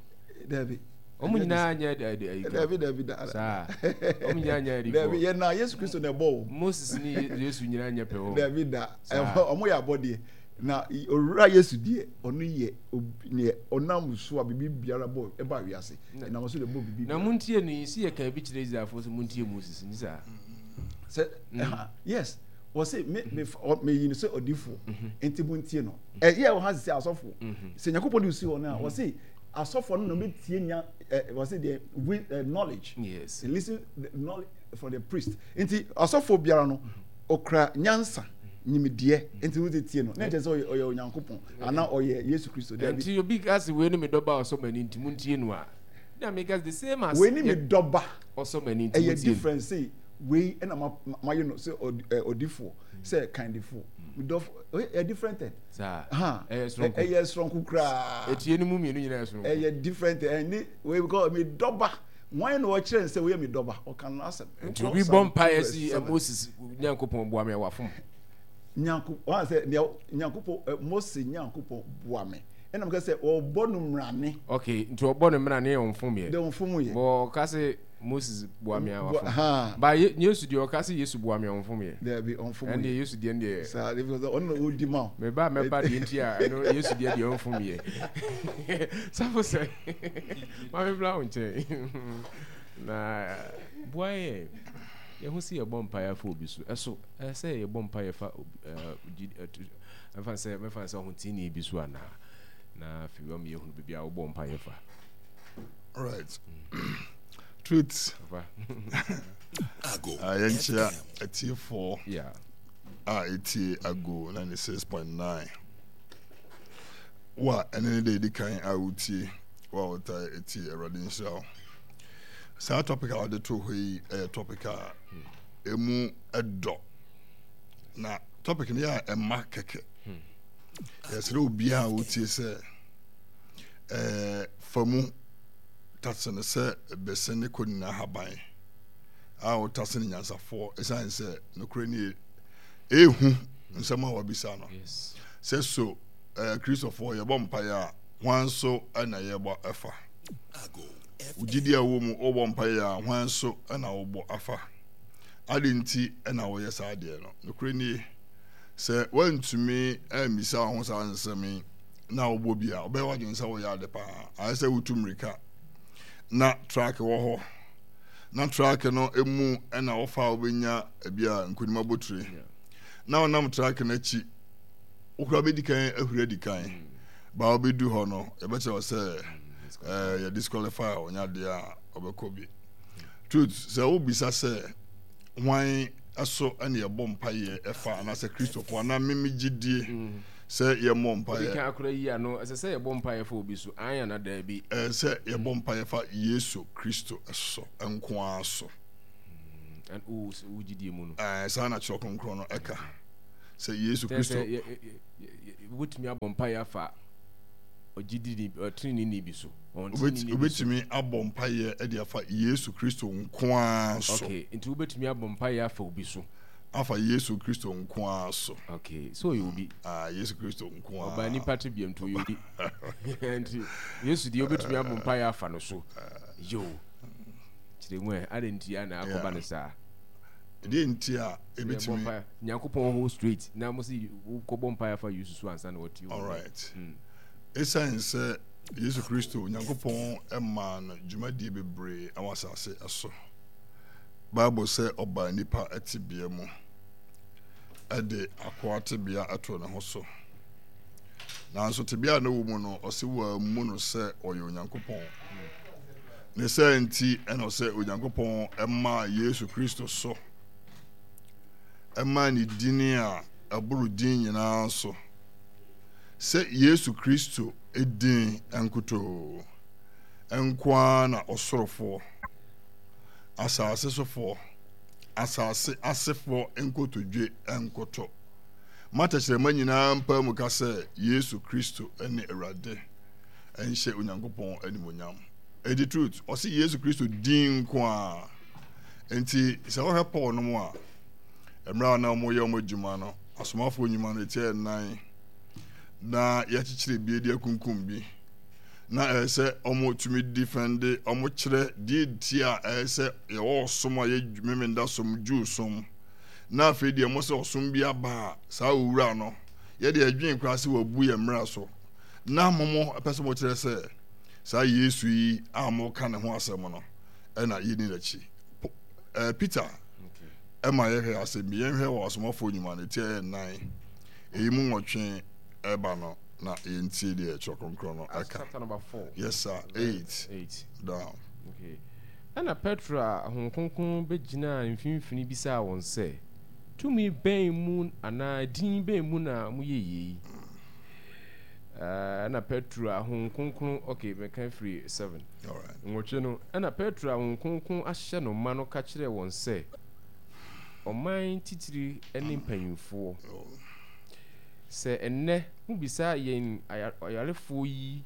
Dabi. Wɔn nyinaa nyɛ ɛdi ɛyi. Dabi dabi da. Saa wɔn nyinaa nyɛ ɛdi fɔ. Dabi yɛ na Yesu Kristo na ɛbɔ o. Moses ni Yesu nyinaa nyɛ pɛ o. Dabi da. Wɔn yɛ abɔdeɛ. Na owura Yesu deɛ ɔno yɛ neɛ ɔnam so a biribi biara bɔ ɛba wiase. Ɛnam so na ɛbɔ biribi biara. Na montie no yi, se yɛkaa bi kyerɛ Israelfoɔ sɛ montie Moses, nti saa? Sɛ, ɛha, yes, wɔse me, me, meyi no sɛ ɔdifoɔ, nti montie no. Ɛyɛ wɔ ha sɛ asɔfoɔ, sɛ Nyankopɔn de si hɔ no a, wɔse asɔfoɔ no na wɔbɛtie nya, wɔse deɛ, with knowledge. Yes. Listen the knowledge from the priest. Nti asɔfoɔ biara no, ɔkura nyansa, nyimdeɛ, nti wode tie no. Na ɛkyɛ sɛ ɔyɛ Onyankopɔn. Ana ɔyɛ Yesu Kristo? Dabi. Nti obi ka se wei ne me dɔba a ɔsɔ m'ani nti montie no a, na meka the same as wei ne me dɔba ɔsɔ m'ani nti montie no. Ɛyɛ different se wei ɛna mayɛ no sɛ ɔdifoɔ sɛ kandifoɔ medɔfo ɛyɛ different thing. Saa ɛyɛ soronko. Ɛyɛ soronko koraa. Etie no mu mmienu nyinaa yɛ soronko. Ɛyɛ different ɛne wei because me dɔba wɔn na ɔkyerɛ nsɛ wei yɛ me dɔba ɔka no asɛm. Nti obi bɔ mpaeɛ si Moses Nyankopɔn boa me a wafom. Nyanko wɔn sɛ nea Nyankopɔn ɛ Mose Nyankopɔn boa me ɛna mo sɛ ɔbɔ no mmerane. Okay, nti ɔbɔ no mmerane yɛ ɔnfom yɛ. De ɔnfom yɛ. Bɔ ɔka sɛ Moses boa me a wafom. Ba Yesu deɛ ɔka sɛ Yesu boa me a ɔnfom yɛ. Dɛbi ɔnfom yɛ. Ɛndeɛ Yesu deɛ deɛ. Saa de because ɔno na ɔdi ma o. Meba mɛba deɛ nti a ɛno Yesu deɛ deɛ ɔnfom yɛ. Safo sɛ maame bla wo nkyɛn na boa yɛ yɛho si yɛbɔ mpaeɛ afa obi so ɛso. Ɛsɛ sɛ yɛbɔ mpaeɛ fa ɛmfa sɛ mɛfa sɛ ɔhoteeni bi so anaa na afei wama yɛhunu baabi a wobɔ mpaeɛ fa. Right. Truth. Yɛnkyea atiefoɔ a ɛtie Ago 96.9 wo a ɛne ne da ɛdi kan a wotie wo a wotae ɛtie Awurade nhyira wo. Saa topic a wɔde to hɔ yi ɛyɛ topic a ɛmu dɔ na topic no yɛ a ɛma kɛkɛ hmm. yɛsrɛ obiara a wotie sɛ ɛɛ fa mu tase no sɛ bɛsɛ ne kɔ nyinaa haban a wotase no nyansafoɔ ɛsiane sɛ nokorɛ nie ɛhu nsɛm a wabisa no sɛ so ɛɛ kristofoɔ yɛbɔ mpaeɛ a hwan so ɛna yɛbɔ ɛfa wogye a wɔ mu wobɔ mpaeɛ a hwan so ɛna wobɔ afa Adɛn nti na woyɛ saa adeɛ no? Nokorɛ nie, sɛ woantumi ammisa wo ho saa nsɛm yi na wobɔ bi a, wobɛyɛ w'adwene sɛ woyɛ ade paa. Ayɛ sɛ wotu mmirika na track wɔ hɔ na track no mu na wofa a wobɛnya ebi a nkonim abotire na wonam track no akyi wokora bɛdi kan ahuri adi kan mm. ba wobɛdu hɔ no yɛbɛkyerɛ wo sɛ mm, eh, yɛ disqualify a ɔnya adeɛ a ɔbɛkɔ bi Truth, sɛ wobisa sɛ hwan so na yɛbɔ mpaeɛ ɛfa anaasɛ Kristofoɔ anaa meme gyidie mm. sɛ yɛmmɔ mpaeɛ. Obi kan akora yi ano ɛsɛ sɛ yɛbɔ mpaeɛ fa obi so an ana daabi. Ɛsɛ sɛ yɛbɔ mpaeɛ fa Yesu Kristo so nko ara so. Mm, wo gyidie mu no. Ɛɛ saa na Kyerɛ Kronkron no ɛka. Sɛ Yesu Kristo. Wobɛtumi abɔ mpaeɛ afa ɔgyidini ɔteneneeni bi so. Wobɛtumi abɔ mpaeɛ de afa Yesu Kristo nko ara so. Okay, nti wobɛtumi abɔ mpaeɛ afa obi so. Afa Yesu Kristo nko ara so. Okay, so ɔyɛ obi. Ah, Yesu Kristo nko ara. Ɔbaa nipa te biam nti ɔyɛ obi. Nti Yesu deɛ wobɛtumi abɔ mpaeɛ afa no so. Yo, kyerɛ mu ɛ, adɛn nti a na akɔba no saa? Ɛdeɛ nti a ɛbɛtumi. Nyankopɔn hɔ straight na mo se wokɔbɔ mpaeɛ afa Yesu so ansa na watie wo. Alright. Esiane sɛ Yesu Kristo, Onyankopɔn maa no dwumadie bebree wɔ asase so. Bible sɛ ɔbaa nnipa tebea mu de akoa tebea too ne ho so. Nanso tebea a na ɔwɔ mu no, ɔse wɔammu no sɛ ɔyɛ Onyankopɔn. Ne saa nti ɛna ɔsɛ Onyankopɔn maa Yesu Kristo so, ɛmaa ne dini a ɛboro din nyinaa so. Sɛ Yesu Kristo din nkutoo nko ara na ɔsorofoɔ, asase sofoɔ, asase asefoɔ nkotodwe nkoto. Ma tɛkyerɛma nyinaa mpae mu ka sɛ Yesu Kristo ne Awurade nhyɛ Onyankopɔn animuonyam. Enti truth, ɔse Yesu Kristo din nko ara. Enti sɛ wohwɛ Paul nom a, mmerɛ a na wɔyɛ wɔn adwuma no, Asomafoɔ Nnwuma no ɛtiɛ nnan na yɛakyekyere bi de akunkum bi na ɛyɛ sɛ wɔtumi defɛnde wɔkyerɛ deɛ nti a ɛyɛ sɛ yɛwɔ ɔsom a yɛ Memenda som Jew som na afei deɛ mo sɛ ɔsom bi aba a saa owura no yɛde ɛdwen koraa sɛ wabu yɛn mmara so na mo mo pɛ sɛ mokyerɛ sɛ saa Yesu yi a moka ne ho asɛm no ɛna yɛni n'akyi Peter ɛma yɛhwɛ asɛm bi. Yɛnhwɛ wɔ Asomafoɔ Nnwuma no ti a ɛyɛ nnan, ɛyi mu nwɔtwe ɛba no, na yɛntie deɛ Twerɛ Kronkron no ɛka. Yes sir, 8 down. Okay. Ɛna Petro a Honhom Kronkron bɛgyinaa mfimfini bisaa wɔn sɛ, Tumi bɛn mu anaa din bɛn mu na moyɛ yei? Ɛna Petro a Honhom Kronkron, okay, mɛka firi 7. Nwɔtwe no, ɛna Petro a Honhom Kronkron ahyɛ no ma no ka kyerɛɛ wɔn sɛ, Ɔman titire ne mpanimfoɔ, sɛ ɛnnɛ mobisa yɛn ɔyarefoɔ yi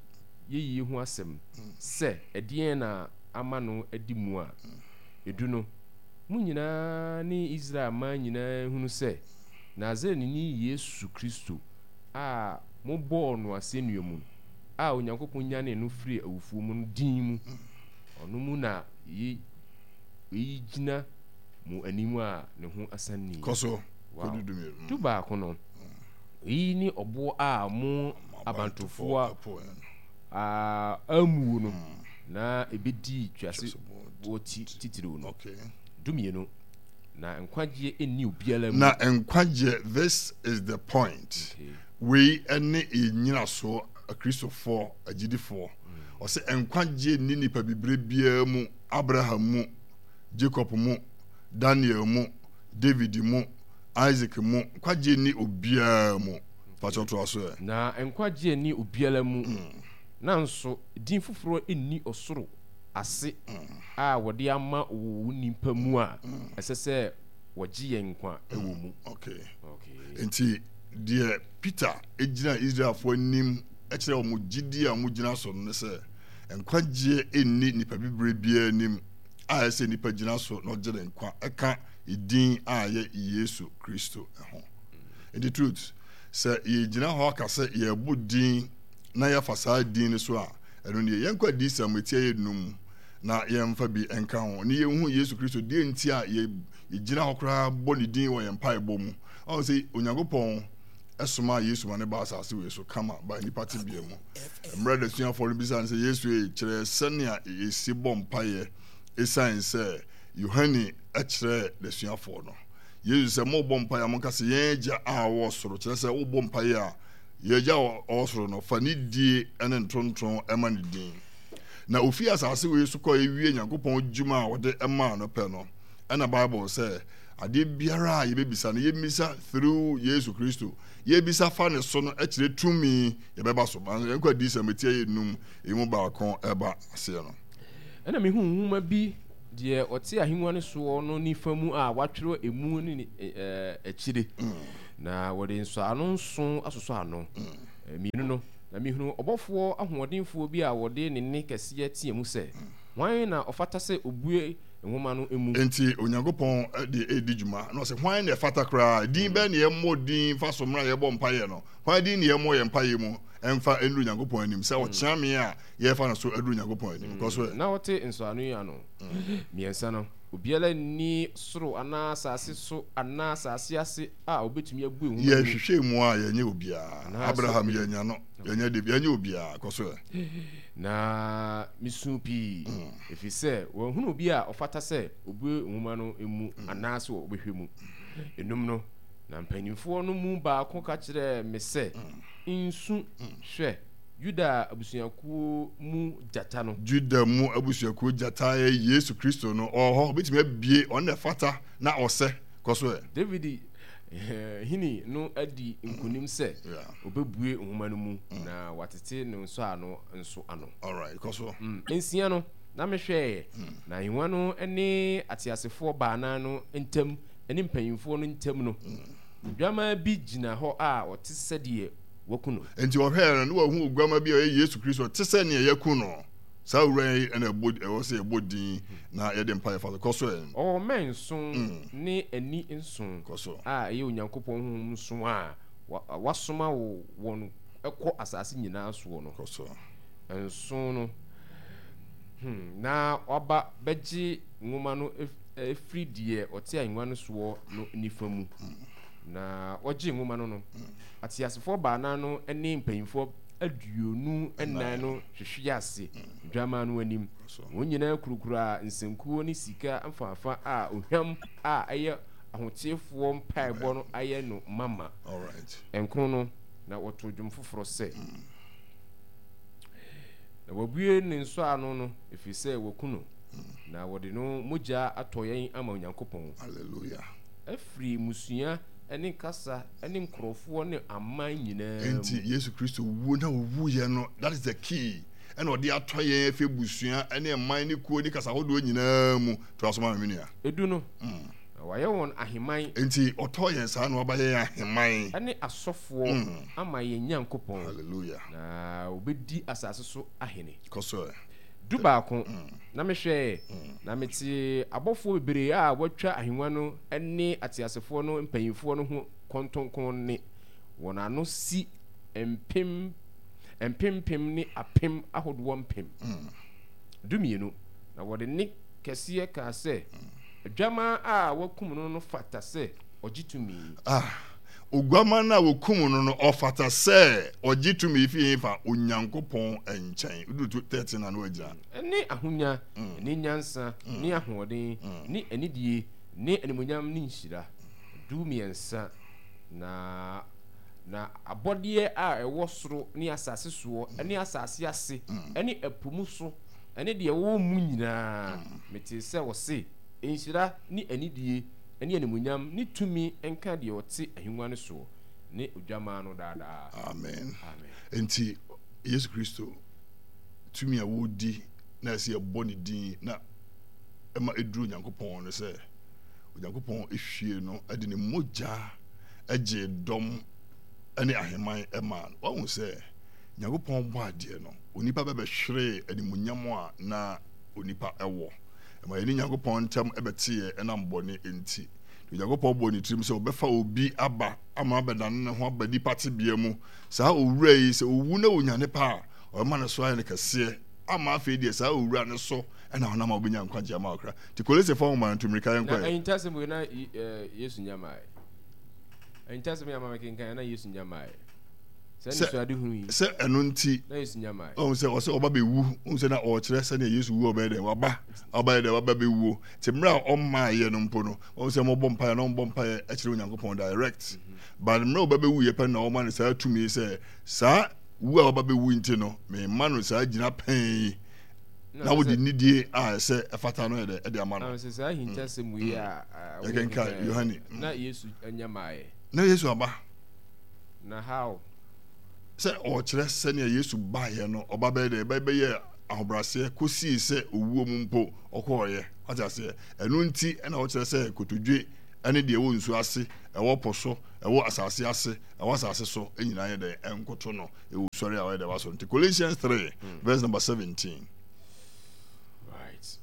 yeyie ho asɛm sɛ ɛdeɛn na ama no adi mu a, edu no, mo nyinaa ne Israel man nyinaa nhunu sɛ Nasareni Yesu Kristo a mobɔɔ no asɛnnua mu no, a Onyankopɔn nyanee no firii awufoɔ mu no din mu, ɔno mu na yei gyina mo anim a ne ho asan ni. Kɔ so Wow. kɔdu dumienu. Dubaako no, eyi ne ɔboɔ a mo abantofoɔ a ammuo no na ɛbɛdii tweasoboɔ titiriw no. Okay. Dumienu, na nkwagyeɛ nni obiara mu. Na nkwagyeɛ, this is the point. Okay. Wei ne yɛn nyinasoɔ Akristofoɔ, agyidifoɔ. Ɔsɛ nkwagyeɛ nni nipa bibire biara mu, Abraham mu, Jacob mu, Daniel mu, David mu, Isaac mu, nkwagyeɛ nni obiara mu. Pakyɛ toa so ɛ. Na nkwagyeɛ nni obiara mu, nanso din foforɔ nni ɔsoro ase a wɔde ama wɔ nnipa mu a ɛsɛ sɛ wɔgye yɛn nkwa wɔ mu. Okay. Nti deɛ Peter gyina Israelfoɔ anim kyerɛ wɔn gyidie a wɔgyina so no ne sɛ nkwagyeɛ nni nipa bibire biara anim a ɛsɛ nipa gyina so na ɔgye ne nkwa ɛka edin a ɛyɛ Yesu Kristo ho. Nti truth sɛ yɛgyina hɔ aka sɛ yɛbɔ din na yɛafa saa din no so a, ɛno nie. Yɛnkɔ adiyisɛm eti ɛyɛ num na yɛmfa bi nka ho ne yɛnhu Yesu Kristo deɛ nti a yɛgyina hɔ koraa bɔ ne din wɔ yɛn mpaebɔ mu. Ɔhu sɛ Onyankopɔn somaa Yesu ma ne baa asase wei so kama baa nnipa tebea mu. Mmerɛ n'asuafoɔ no bisaa no sɛ, Yesu ei, kyerɛ sɛnea yɛsi bɔ mpaeɛ ɛsiane sɛ Yohane kyerɛɛ n'asuafoɔ no. Yesu sɛ, mobɔ mpaeɛ a monka sɛ, Yɛn Agya a ɔwɔ soro, kyerɛ sɛ wobɔ mpaeɛ a, yɛn Agya a ɔwɔ soro no, fa ne die ne ntonton ma ne din. Na ofii asase wei so kɔe wie Nyankopɔn dwuma a ɔde maa no pɛ no, ɛna Bible sɛ, adeɛ biara a yɛbɛbisa no, yɛmmisa through Yesu Kristo. Yɛbisa fa ne so no kyerɛ tumi yɛbɛba so. Yɛnkɔ adiyisɛm eti ɛyɛ num, emu baako ɛba aseɛ no. Ɛna mehuu nwoma bi. Deɛ ɔte ahennwa no soɔ no nifa mu a wɔatwerɛ emu ne ne akyire, na wɔde nsɔano nson asosɔ ano. Mmienu no, na mehunuu ɔbɔfoɔ ahoɔdenfoɔ bi a ɔde ne nne kɛseɛ teaa mu sɛ, Hwan na ɔfata sɛ ɔbue nwoma no mu? Enti Onyankopɔn de redi dwuma, na ɔsɛ, Hwan na ɛfata koraa? Din bɛn na yɛmmɔ din mfa so mmerɛ a yɛbɔ mpaeɛ no? Hwan din na yɛmmɔ yɛn mpaeɛ mu mfa nnuru Onyankopɔn anim sɛ ɔkyeame a yɛrefa no so aduru Onyankopɔn anim? Kɔ so ɛ. Na ɔte nsɔano yi ano mmiɛnsa no, obiara nni soro anaa asase so anaa asase ase a ɔbɛtumi abue nwoma no mu. Yɛhwehwɛɛ mu a, yɛnyɛ obiara. Abraham, yɛannya no. Yɛnyɛ David, yɛnyɛ obiara. Kɔ so ɛ. Na misuu pii, efisɛ wɔanhunu obi a ɔfata sɛ obue nwoma no mu anaasɛ ɔbɛhwɛ mu. Enum no, na mpanimfoɔ no mu baako ka kyerɛɛ me sɛ, Nsu, hwɛ, Yuda abusuakuo mu gyata no. Juda mu abusuakuo gyata yɛ Yesu Kristo no, ɔwɔ hɔ, ɔbɛtumi abue, ɔno na ɛfata na ɔsɛ. Kɔ so ɛ. David hene no adi nkonim sɛ ɔbɛbue nwoma no mu na watete ne nsɔano nso ano. Alright, kɔ so. Nsia no, na mehwɛeɛ, na ahennwa no ne ateasefoɔ baanan no ntam ne mpanimfoɔ no ntam no, odwammaa bi gyina hɔ a ɔte sɛdeɛ wɔaku no. Enti ɔhwɛɛ no, na wahu oguamma bi a ɔyɛ Yesu Kristo, ɔte sɛ nea yɛaku no. Saa owura yi na ɛbɔ ɛwɔ sɛ yɛbɔ din na yɛde mpaeɛ fa so. Kɔ so ɛ. Ɔwɔ mmɛn nson ne ani nson Kɔ so. a ɛyɛ Onyankopɔn honhom nson a wasoma wɔn kɔ asase nyinaa soɔ no. Kɔ so. Nson no. Hmm, na waba bɛgye nwoma no firi deɛ ɔte ahennwa no soɔ no nifa mu. Na ɔgyee nwoma no no, ateasefoɔ baanan no ne mpanyimfoɔ 24 no hwehwee ase Dwammaa no anim. Wɔn nyinaa kurakura nsankuo ne sika mfaafa a ohwam a ɛyɛ ahoteefoɔ mpaebɔ no ayɛ no mama. Nkron no, na wɔtoo dwom foforɔ sɛ, Na wɔabue ne nsɔano no, ɛfiri sɛ wɔaku no, na wɔde no mogya atɔ yɛn ama Onyankopɔn. Hallelujah. Afiri mmusua ne kasa ne nkurɔfoɔ ne aman nyinaa mu. Enti Yesu Kristo wuo na ɔwuiɛ no, that is the key, ɛna ɔde atɔ yɛn afi abusua ne ɛman ne kuo ne kasa ahodoɔ nyinaa mu. Toa so ma me, me nua. Edu no, na wayɛ wɔn aheman. Enti ɔtɔɔ yɛn saa na waba yɛn aheman. Ne asɔfoɔ ama yɛn Nyankopɔn. Hallelujah. Na wɔbɛdi asase so ahene. Kɔ so ɛ. Dubaako, na mehwɛe, na metee abɔfoɔ bebree a wɔatwa ahennwa no ne ateasefoɔ no mpanimfoɔ no ho kɔntɔnkrɔn nne, wɔn ano si mpem mpempem ne apem ahodoɔ mpem 12, na wɔde nne kɛseɛ kaa sɛ, Adwammaa a wɔakum no no fata sɛ ɔgye tumi. Ah, Oguammaa no a wɔkum no no, ɔfata sɛ ɔgye tumi fi hefa? Onyankopɔn nkyɛn. Woduru 13 a na wagyina. Ne ahonya, ne nyansa, ne ahoɔden, ne anidie, ne animuonyam ne nhyira. 13, Na na abɔdeɛ a ɛwɔ soro ne asase soɔ ne asase ase ne ɛpo mu so ne deɛ ɛwɔ mu nyinaa, metee sɛ wɔse, Nhyira ne anidie ne animuonyam ne tumi nka deɛ ɔte ahennwa no soɔ ne Odwammaa no daa daa. Amen. Amen. Enti Yesu Kristo tumi a wɔredi na ɛsɛ yɛbɔ ne din na ɛma ɛduru Onyankopɔn no sɛ Onyankopɔn hwie no de ne mogya gyee dɔm ne ahemman maa no. Wahu sɛ Nyankopɔn bɔ adeɛ no, onipa bɛbɛhweree animuonyam a na onipa wɔ. Ɛma yɛne Nyankopɔn ntam bɛteeɛ ɛnam bɔne nti. Onyankopɔn bɔɔ ne tirim sɛ ɔbɛfa obi aba ama abɛdane ne ho aba nipa tebea mu. Saa owura yi, sɛ owu na onyane pa a, ɔbɛma ne so ayɛ no kɛseɛ ama afei deɛ saa owura no so na ɔnam a wobɛnya nkwagye ama ɔkra. Nti Kolosefo nwoma no tu mmirika yɛnkɔ ɛ. Na ahintasɛm wei na Yesu nya mae. Ahintasɛm yi ama mekenkan na Yesu nya mae. Sɛ anisoadehunu yi. Sɛ ɛno nti. Na Yesu nya mae. Ɔhu sɛ ɔsɛ ɔba bɛwu. Ɔhu sɛ na ɔrekyerɛ sɛnea Yesu wu ɔbɛyɛ dɛn waba ɔbɛyɛ dɛn waba bɛwuo. Nti mmerɛ a ɔmmaeɛ no mpo no ɔhu sɛ wɔbɔ mpaeɛ na wɔbɔ mpaeɛ kyerɛ Onyankopɔn direct. But mmerɛ ɔba bɛwuiɛ pɛ na ɔma no saa tumi sɛ saa wu a waba bɛwu nti no mema no saa gyina pɛn yi. Na wode nidie a ɛsɛ ɛfata no yɛ dɛ ɛde ama no. Na sɛ saa ahintasɛm wei a yɛkenkan Yohane. Na Yesu anya maeɛ. Na Yesu aba. Na how? Sɛ ɔkyerɛ sɛnea Yesu baeɛ no, ɔba bɛyɛ dɛ, bɛyɛ. ahobrɛaseɛ kɔsii sɛ owuo mu mpo ɔkɔɔeɛ. Wate aseɛ? Ɛno nti na wɔkyerɛ sɛ kotodwe ne deɛ ɛwɔ nsuo ase, ɛwɔ po so, ɛwɔ asase ase, ɛwɔ asase so nyinaa yɛ dɛn? Ɛnkoto no. Ɛwɔ sɔre a ɔyɛ dɛn? Wasɔre. Nti Colossians 3 verse number 17. Right.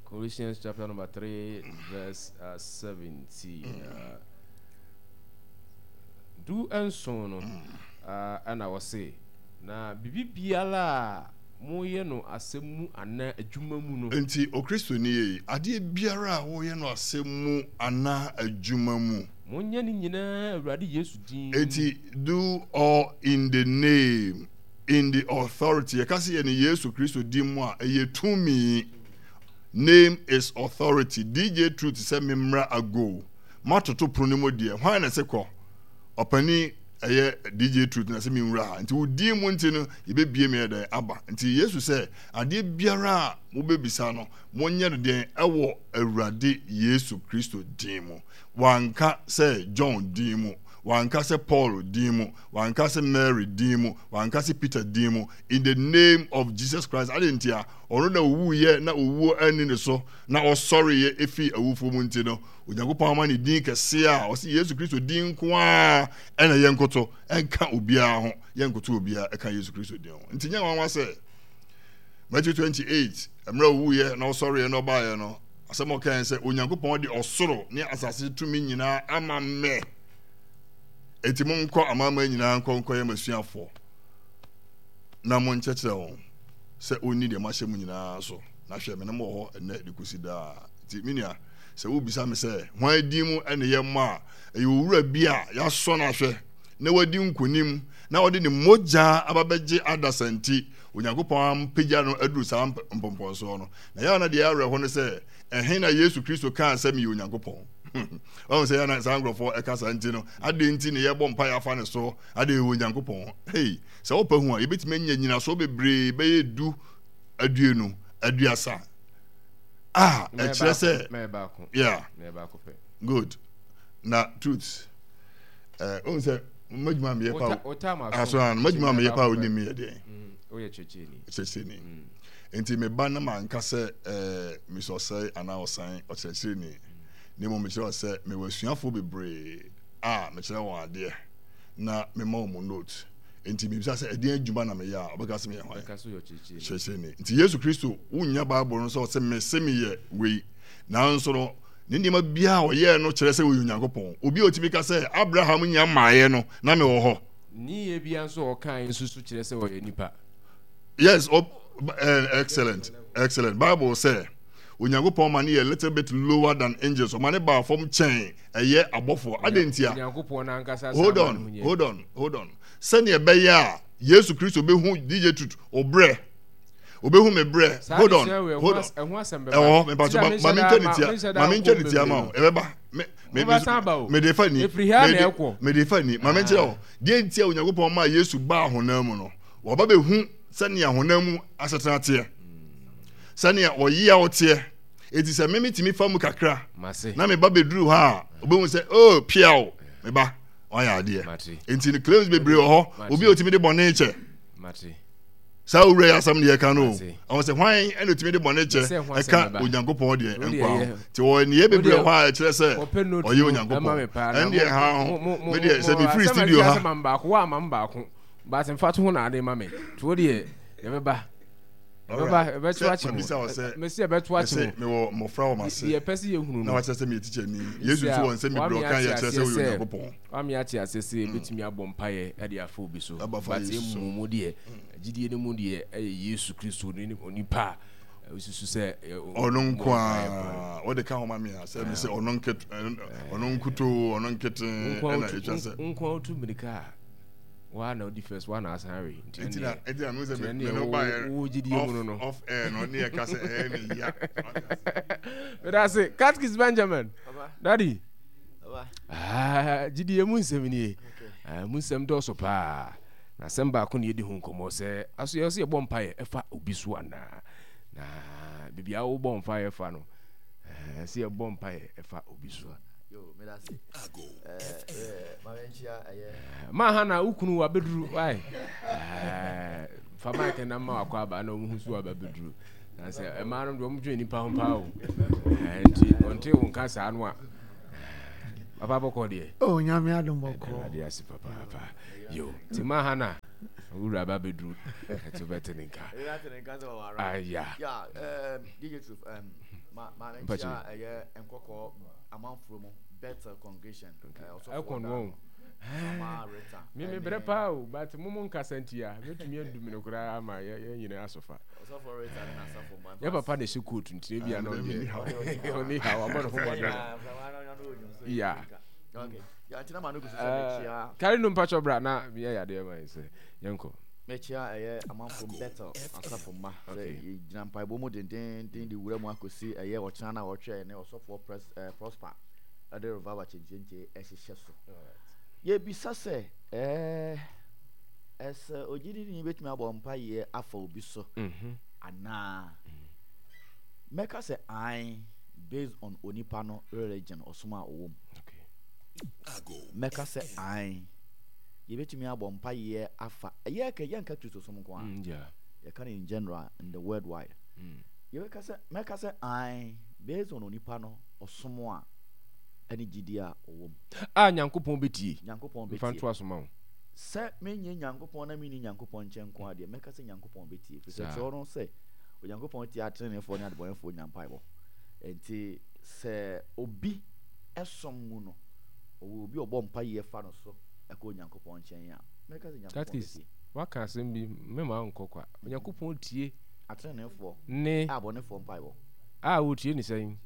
Colossians chapter number 3 verse 17. 17 no, ɛna ɔse, na biribi biara a moyɛ no asɛm mu anaa adwuma mu no. Enti Okristoni ei, adeɛ biara a woyɛ no asɛm mu anaa adwuma mu. Monyɛ ne nyinaa Awurade Yesu din mu. Enti do all in the name, in the authority, yɛka sɛ yɛ no Yesu Kristo din mu a, ɛyɛ tumi. Name is authority. DJ Truth sɛ memmra ago. Matoto pono no mu deɛ, hwan na ɛsɛ kɔ? Ɔpanin ɛyɛ DJ Truth na sɛ menwura ha. Nti wo din mu nti no, yɛbɛbie me ɛdɛn aba. Nti Yesu sɛ, adeɛ biara a mobɛbisa no, monyɛ no deɛn ɛwɔ Awurade Yesu Kristo din mu. Wanka sɛ John din mu, wanka sɛ Paul din mu, wanka sɛ Mary din mu, wanka sɛ Peter din mu. In the name of Jesus Christ. Adɛn ntia? Ɔno na owuiɛ na owuo anni ne so na ɔsɔreeɛ ɛfiri awufoɔ mu nti no, Onyankopɔn ama ne din kɛseɛ a ɔse Yesu Kristo din nko ara ɛna yɛnkoto, ɛnka obiara ho, yɛnkoto obiara ɛka Yesu Kristo din ho. Nti nyɛ nwanwa sɛ Matthew 28 mmerɛ owuiɛ na ɔsɔreeɛ na ɔbaeɛ no, asɛm a ɔkae sɛ Onyankopɔn de ɔsoro ne asase tumi nyinaa ama me. Enti monkɔ amanaman nyinaa nkɔ nkɔyɛ m'asuafoɔ na monkyerɛkyerɛ wɔn sɛ ɔnni deɛ mahyɛ mo nyinaa so, na hwɛ, me ne mo wɔ hɔ ɛnnɛ de kɔsi daa. Nti me nua, sɛ wobisa me sɛ, hwan din mu ne yɛmmɔ a, ɛyɛ owura bi a yɛasɔ no ahwɛ na wadi nkonim na ɔde ne mogya aba bɛgye adasa nti, Onyankopɔn ampagya no aduru saa mpɔmpɔnsoɔ no. Na yɛ a na deɛ awerɛho ne sɛ, ɛhe na Yesu Kristo kaa sɛ meyɛ Onyankopɔn? Wahu sɛ yɛ na saa nkurɔfoɔ ɛka saa nti no, adɛn nti na yɛbɔ mpaeɛ afa ne so? Adɛn ɛwɔ Onyankopɔn? Hei! Sɛ wopɛ hu a, yɛbɛtumi anya nyinasoɔ bebree bɛyɛ du, aduonu, aduasa a ɛkyerɛ sɛ yeah good na truth ɛɛ ohun sɛ mmadwuma meyɛ pa aso ano mmadwuma meyɛ pa onim meyɛ deɛ kyerɛkyerɛni mm. nti meba na manka sɛ ɛɛ mesɛ ɔsɛe anaa ɔsan ɔkyerɛkyerɛni na mmom mekyerɛ sɛ mewɔ asuafoɔ bebree a mekyerɛ wɔn adeɛ na mema wɔn note. Enti mebisa sɛ, ɛdeɛn adwuma na meyɛ a ɔbɛka sɛ meyɛ hwan? Kyerɛkyerɛni. Nti Yesu Kristo, wonnya Bible no sɛ ɔsɛ mese meyɛ wei. Nanso no, ne nneɛma biara a ɔyɛɛ no kyerɛ sɛ ɔyɛ Onyankopɔn. Obi a ɔtumi ka sɛ, Abraham nnya mmaeɛ no, na mewɔ hɔ. Ne yɛ biara nso a ɔkaeɛ nso so kyerɛ sɛ ɔyɛ nipa. Yes, oh, eh, excellent, excellent. Bible sɛ, Onyankopɔn ma no yɛ little bit lower than angels. Ɔma ne baa fam kyɛn ɛyɛ abɔfoɔ. Adɛn ntia? Onyankopɔn n'ankasa Hold on, hold on, hold on. Sɛnea ɛbɛyɛ a Yesu Kristo bɛhu DJ Tut obrɛ, obehu me brɛ. Hold on, hold on. Ɛwɔ hɔ, mepatso ma mentwa ne tia, ma mentwa ne tia ma wo. Ɛbɛba. Me me me de fa ni, me de fa ni. Ma menkyerɛ wo. Deɛ nti a Onyankopɔn maa Yesu baa honam mu no, waba bɛhu sɛnea honam mu asetena teɛ, sɛnea ɔyeaw teɛ. Eti sɛ me metumi fa mu kakra na me ba bɛduru hɔ a, obehu sɛ oh piaw me ba wayɛ adeɛ. Nti no claims bebree wɔ hɔ. Obi a otumi de bɔne kyɛ. Saa owura yi asɛm deɛ ɛka no o. Ɔwɔ sɛ hwan ɛna otumi de bɔne kyɛ ɛka Onyankopɔn deɛ nkwa ho. Nti wɔ nneyɛɛ bebree wɔ hɔ a ɛkyerɛ sɛ ɔyɛ Onyankopɔn. Ɛndeɛ ha ho. Me deɛ sɛ mefiri studio ha. But mfa to ho na ade ma me. To deɛ yɛbɛba. Ɛbɛba, ɛbɛto akye mo. Mesi ɛbɛto akye mo. Mewɔ mmɔfra wɔ m'ase. Deɛ ɛpɛ sɛ yɛhunu no. Na wakyerɛ sɛ meyɛ tikyani. Yesu nso wɔ nsɛm bebree ɔka yɛ kyerɛ sɛ ɔyɛ Onyankopɔn. Wame ate aseɛ sɛ yɛbɛtumi abɔ mpaeɛ de afa obi so. But emu mu deɛ, gyidie no mu deɛ ɛyɛ Yesu Kristo ne onipa a wosusu sɛ ɔno nko a wode ka ho ma me a sɛ me sɛ ɔno nkete ɔno nkutoo ɔno nkete ɛna ɛtwa sɛ nko a wotu mmirika a Waa na odi first, waa na asan awe. Nti ɛnneɛ, na nti na sɛ me me no ba yɛ wo gyidie mu no no. Off air no ne yɛ ka sɛ ɛyɛ me ya. Meda ase, Catechist Benjamin. Daddy. Ah, gyidie mu nsɛm nie. Ah, mu nsɛm dɔɔso paa. Na asɛm baako na yɛdi ho nkɔmmɔ sɛ aso yɛ sɛ yɛbɔ mpaeɛ ɛfa obi so anaa. Na biribi a wobɔ mpaeɛ fa no, eh, sɛ yɛbɔ mpaeɛ ɛfa obi so. Yo, meda ase. Eh, ma menkyia ɛyɛ. Ma ha na wo kunu wabɛduru why? Fa mic na ma wakɔ aba na ɔmo hu so aba bɛduru. Na sɛ mmaa no deɛ ɔmo dwen nipa ho paa o. Nti ɔnte wo nka saa no a. Papa bɔkɔ deɛ. Oh, nyame adom bɔkɔ. Awurade ase papaapa. Yo, ti ma ha na wura ba bɛduru. Ɛti wobɛte ne nka. Aya. Yeah, DJ Truth, ma ma ne nkyia ɛyɛ nkɔkɔ amanforo mu Bethel congregation. Ɛkɔ no wɔn. Me me brɛ paa o, but mo mo nkasa nti a, mɛtumi adu me no koraa ama yɛn nyinaa asofa. Yɛ papa na ɛhyɛ coat nti ebi a na ɔde ɔne ha wabɔ ne ho mmɔden. Yeah. Kari no mpakyɛ bra na meyɛ yadeɛ ma yɛ sɛ yɛnkɔ. Mekyia ɛyɛ amanfo Bethel asafo mma sɛ yɛgyina mpaebɔ mu dendenden de wura mu akɔsi ɛyɛ ɔkyena no a wɔtwɛn ne ɔsɔfoɔ Prosper ɛde revival kyenkyenkye ɛhyehyɛ so. Yɛbisa sɛ ɛɛ Ɛsɛ ogyidini betumi abɔ mpaeɛ afa obi so anaa? Mɛka sɛ ae based on onipa no religion, ɔsom a ɔwɔ mu. Mɛka sɛ ae. Yɛbɛtumi abɔ mpaeɛ afa, ɛyɛ kɛ yɛnka Kristosom nko ara. Yɛka no in general, in the world wide. Yɛbɛka sɛ, mɛka sɛ ae based on onipa no ɔsom a ɛne gyidie a ɔwɔ mu. A Nyankopɔn bɛtie. Nyankopɔn bɛtie. Mfa ntoa so ma wo. Sɛ menyɛ Nyankopɔn na menni Nyankopɔn nkyɛn nko ara deɛ, mɛka sɛ Nyankopɔn bɛtie, ɛfiri sɛ twerɛ no sɛ, Onyankopɔn tie ateneneefoɔ ne adebɔneyɛfoɔ nyinaa mpaebɔ. Enti sɛ obi som mu no, ɔwɔ obi a ɔbɔ mpaeɛ fa no so kɔ Onyankopɔn nkyɛn a, mɛka sɛ Nyankopɔn Katkis, bɛtie. woaka asɛm bi, mema wo nkɔ kwa. Onyankopɔn tie. Ateneneefoɔ Ne. abɔnefoɔ mpaebɔ. A ɔtie ne sɛn?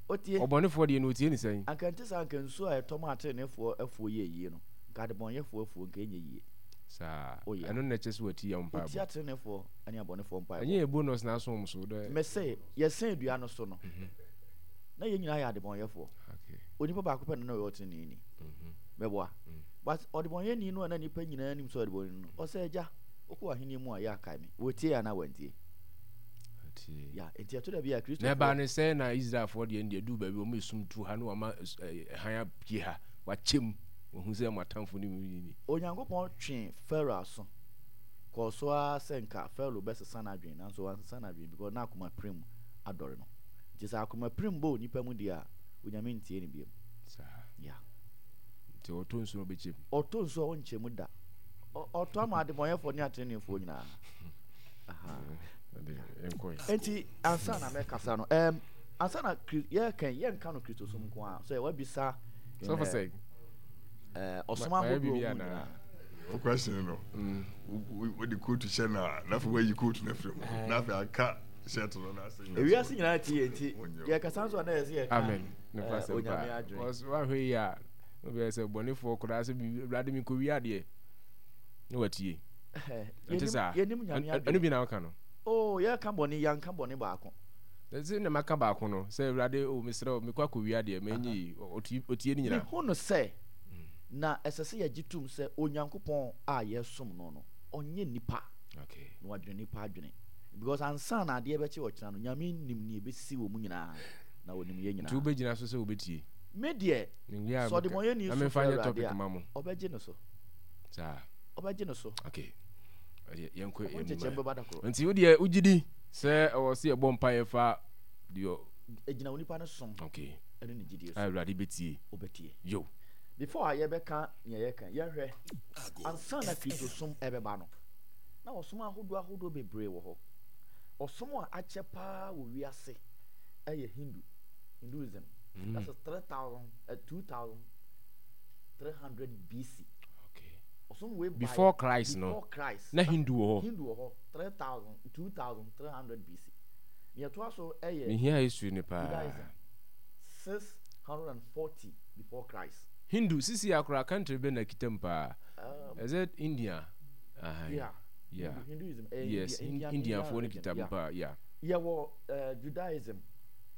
Ɔtie. Ɔbɔnefoɔ deɛ no ɔtie ne sɛn? Anka ɛnte saa, anka nsuo a ɛtɔ ma ateneneefoɔ afuo yɛ yie no, Nka adebɔnyɛfoɔ afuo nka ɛnyɛ yie. Saa. Oh yeah. Ɛno na ɛkyɛ sɛ watie yɛn mpaebɔ. Ɔtie ateneneefoɔ ne abɔnefoɔ mpaebɔ. Ɛnyɛ yɛ bonus na aso wɔn so dɛ. Mese, yɛsɛn dua no so no, na yɛn nyinaa yɛ adebɔnyɛfoɔ. Okay. Onipa baako pɛ na na ɔyɛ ɔteneneeni. Mɛboa. But ɔdebɔnyɛni no a na nnipa nyinaa nim sɛ ɔdebɔnyɛni no, ɔsɛ agya, wokɔ w'ahenni mu a, yɛ akae me. Wɔtie anaa wɔantie? Ɔtie. Yeah, nti ɛto da bi a Kristofoɔ. Na ɛbaa ne sɛ na Israelfoɔ deɛ deɛ duu baabi wɔn esum tu ha na wɔama hann apue ha, wakyɛ mu. Wɔahu sɛ mo atamfo no mu ni. Onyankopɔn twee Farao aso kɔɔ so ara sɛ nka Farao bɛsesa n'adwene, nanso wansesa n'adwene because na akomapirim adɔre no. Nti sɛ akomapirim bɔ onipa mu deɛ a, Onyame ntie no biom. Saa. Yeah. Nti ɔtɔ nsuo a ɔbɛkyɛ mu? Ɔtɔ nsuo a ɔnkyɛ mu da. Ɔtɔ ama adebɔnyɛfoɔ ne ateneneefoɔ nyinaa. Aha. Nti ansa na mɛkasa no, um, ansa na yɛka yɛnka no Kristosom nko ara, sɛ wabisa Sɔfo sɛ. Ɔsom ahodoɔ mu nyinaa. O question no. Wo de coat hyɛ na na afei wayi coat no afiri mu. Na afei aka shirt no na asɛ nyina. Ewiase nyinaa ti yɛ nti yɛkasa nso a na yɛsɛ yɛka. Amen. Ne fa sɛ pa. Because wahwɛ yi a obi sɛ bɔnefoɔ koraa sɛ Awurade mi kɔ wi adeɛ na watie. Ɛnte saa. Yɛnim nyame adwene. Ɛno bi na woka no. Oh yɛka bɔne yɛnka bɔne baako. Ɛsɛ na maka baako no sɛ Awurade o mesrɛ wo mekɔ akɔwia deɛ manyɛ yi ɔtie ne nyinaa. Mehu no sɛ na ɛsɛ sɛ yɛgye tom sɛ Onyankopɔn a yɛsom no no ɔnyɛ nipa na wadwene nipa adwene because ansa na adeɛ bɛkye ɔkyena no Nyame nim nea ɛbɛsi wɔ mu nyinaa na ɔnim yɛn nyinaa. Nti wobɛgyina so sɛ wobɛtie? Me deɛ sɛ ɔdebɔnyɛni su frɛ Awurade a ɔbɛgye no so. Saa. Ɔbɛgye no so. Okay. Yɛnkɔ Ɔho nkyekyɛm bɛba da koro. Nti wo deɛ wogye di Sɛ ɛwɔ sɛ yɛbɔ mpaeɛ fa deɛ. Ɛgyina onipa no som. Okay. Ɛne ne gyidie so. A Awurade bɛtie. Ɔbɛtie. Yo. Before a yɛbɛka nea yɛka, yɛnhwɛ. Ansa na Kristosom ɛbɛba no, na ɔsom ahodoɔ ahodoɔ bebree wɔ hɔ. Ɔsom a akyɛ paa wɔ wiase ɛyɛ Hindu, Hinduism. Mm. That's 3000, uh, 2300 BC. Okay. Ɔsom wei before Christ no. Before Christ. Na Hindu wɔ hɔ. Hindu wɔ hɔ. 3000, 2300 BC. Nea ɛtoa so yɛ Mehia history no paa. Judaism, 640 before Christ. Hindu, sisi a koraa country bɛn na ɛkita mu paa? Is it India? Ahan. Yeah. Yeah. Hinduism, ɛyɛ Yes, India, Indian, Indianfoɔ no religion. kita mu Yeah. paa, yeah. Yɛwɔ uh, Judaism,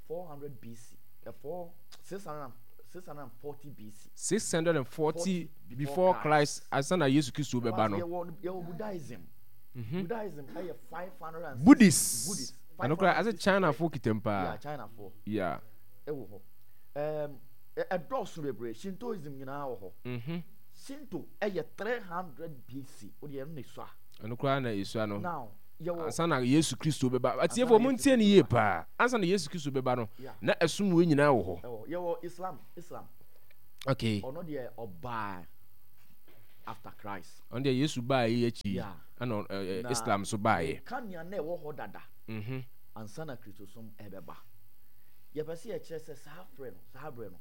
400 BC, uh, 4, 600, 640 BC. 640 before Christ, ansa na Yesu Kristo bɛba no. Yɛwɔ, yɛwɔ Buddhism, Mhm. Buddhism ɛyɛ 500 Buddhist. Buddhist. Ɛno koraa asɛ China fo kitam paa. Yeah, China fo. Yeah. Ɛwɔ hɔ. Um, ɛdɔɔso bebree. Shintoism nyinaa wɔ hɔ. Mhm. Shinto yɛ 300 BC. Wo deɛ ɛno na esua. Ɛno koraa na esua no. Now, yɛwɔ. Ansa na Yesu Kristo bɛba. Ansa Atiefoɔ na mo Yesu ntie no Kristo yie bɛba. paa. Ansa na Yesu Kristo bɛba no, Yeah. na ɛsom wei nyinaa wɔ hɔ. Ɛwɔ yɛwɔ Islam, Islam. Okay. Ɔno deɛ ɔbaa after Christ. Ɔno deɛ Yesu baa yi akyi. Yeah. Ɛna ɛ, Na Islam nso baeɛ. meka nea na ɛwɔ hɔ dada Mhm. ansa na Kristosom ɛbɛba. Yɛpɛ sɛ yɛkyerɛ sɛ saa frɛ no, saa berɛ no,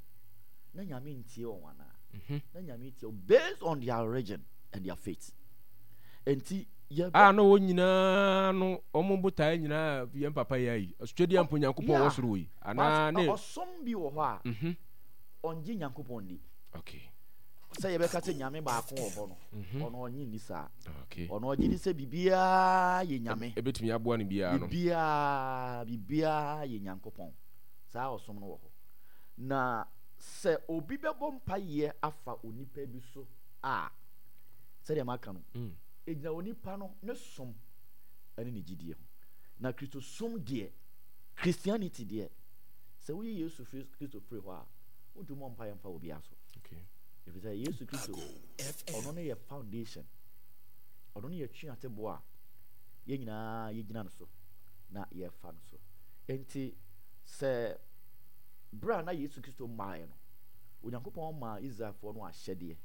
na Nyame ntie wɔn anaa? Mhm. Na Nyame tie wɔn based on their religion and their faith. Enti yɛbɛ. A na wɔn nyinaa no wɔn botaeɛ nyinaa yɛn papa yi ayi ɔsotwadeɛ mpo Nyankopɔn wɔ soro yi anaa ne. Ɔsom bi wɔ hɔ a mhm. ɔngye Nyankopɔn ndi. Okay. Sɛ yɛbɛka sɛ Nyame baako wɔ hɔ no, mhm. ɔno ɔnye nni saa. Okay. Ɔno ɔgye di sɛ biribiara yɛ Nyame. Ebetumi aboa no biara no. Biribiara, biribiara yɛ Nyankopɔn. Saa ɔsom no wɔ hɔ. Na sɛ obi bɛbɔ mpaeɛ afa onipa bi so a, sɛdeɛ maka no, ɛgyina onipa no ne som ne ne gyidie ho. Na Kristosom deɛ, Christianity deɛ, sɛ woyi Yesu Kristo firi hɔ a, wontumi mmɔ mpaeɛ mfa obiara so. Ɛfiri sɛ Yesu Kristo, ɔno ne yɛ foundation, ɔno ne yɛ tweateboɔ a yɛn nyinaa yɛgyina no so na yɛfa no so. Enti sɛ berɛ a na Yesu Kristo mmaeɛ no, Onyankopɔn maa Israelfoɔ no ahyɛdeɛ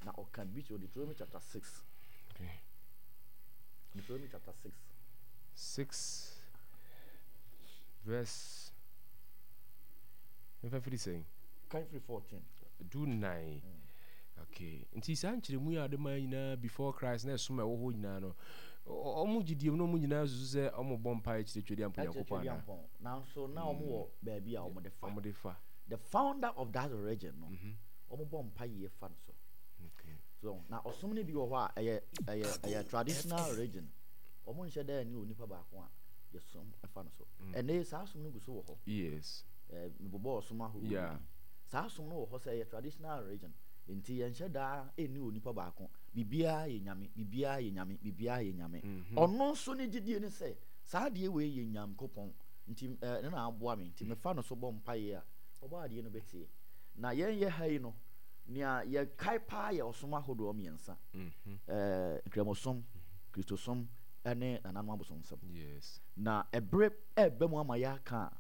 na ɔka bi kyerɛ Deuteronomy chapter 6. Okay. Deuteronomy chapter 6. 6 verse mfa firi sɛn? Kan firi 14. Du nan. Okay. Nti saa nkyerɛmu yi a ɔde maa nyinaa before Christ na ɛsom a ɛwɔ hɔ nyinaa no, wɔn gyidie mu na wɔn nyinaa susu sɛ wɔn bɔ mpaeɛ kyerɛ Twedeɛ Ampo Nyankopɔn anaa? Nanso na wɔn wɔ baabi a wɔn de fa. Wɔn de fa. The founder of that religion no, wɔn bɔ mpaeɛ fa no so. Okay. So na ɔsom no bi wɔ hɔ a ɛyɛ ɛyɛ ɛyɛ traditional religion. Wɔn nhyɛ dɛ ne onipa baako a yɛsom fa no so. Ɛnna saa som no gu so wɔ hɔ. Yes. Ɛɛ mebobɔ ɔsom ahorow Yeah. bi. Saa som no wɔ hɔ sɛ ɛyɛ traditional religion. Nti yɛnhyɛ daa ɛnni onipa baako. Biribiara yɛ nyame, biribiara yɛ nyame, biribiara yɛ nyame. Ɔno nso ne gyidie ne sɛ saa adeɛ wei yɛ Nyankopɔn nti ɛno na aboa me nti mefa no so bɔ mpaeɛ a ɔbɔ adeɛ no bɛtie. Na yɛn yɛ ha yi no nea yɛkae paa yɛ ɔsom ahodoɔ mmiɛnsa. Ɛɛ Nkramosom, Kristosom ɛne nananom abosomsɛm. Yes. Na ɛberɛ ɛreba mu ama yɛaka a,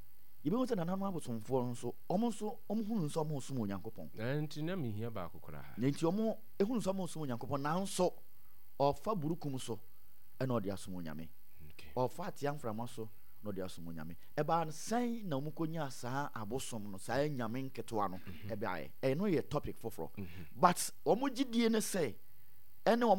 yɛbɛhu sɛ nananom abosomfoɔ no nso, wɔn nso wɔhunu sɛ wɔresom Onyankopɔn. Na nti na mehia baako koraa. Na nti wɔn ehunu sɛ wɔresom Onyankopɔn, nanso ɔfa burukum so ɛna ɔde asom Onyame. Ɔfa atea mframa so na ɔde asom Onyame. Ɛbaa no sɛn na wɔn kɔnyaa saa abosom no, saa nyame nketewa no ɛbaeɛ? Ɛno yɛ topic foforɔ. But wɔn gyidie ne sɛ ɛne wɔn.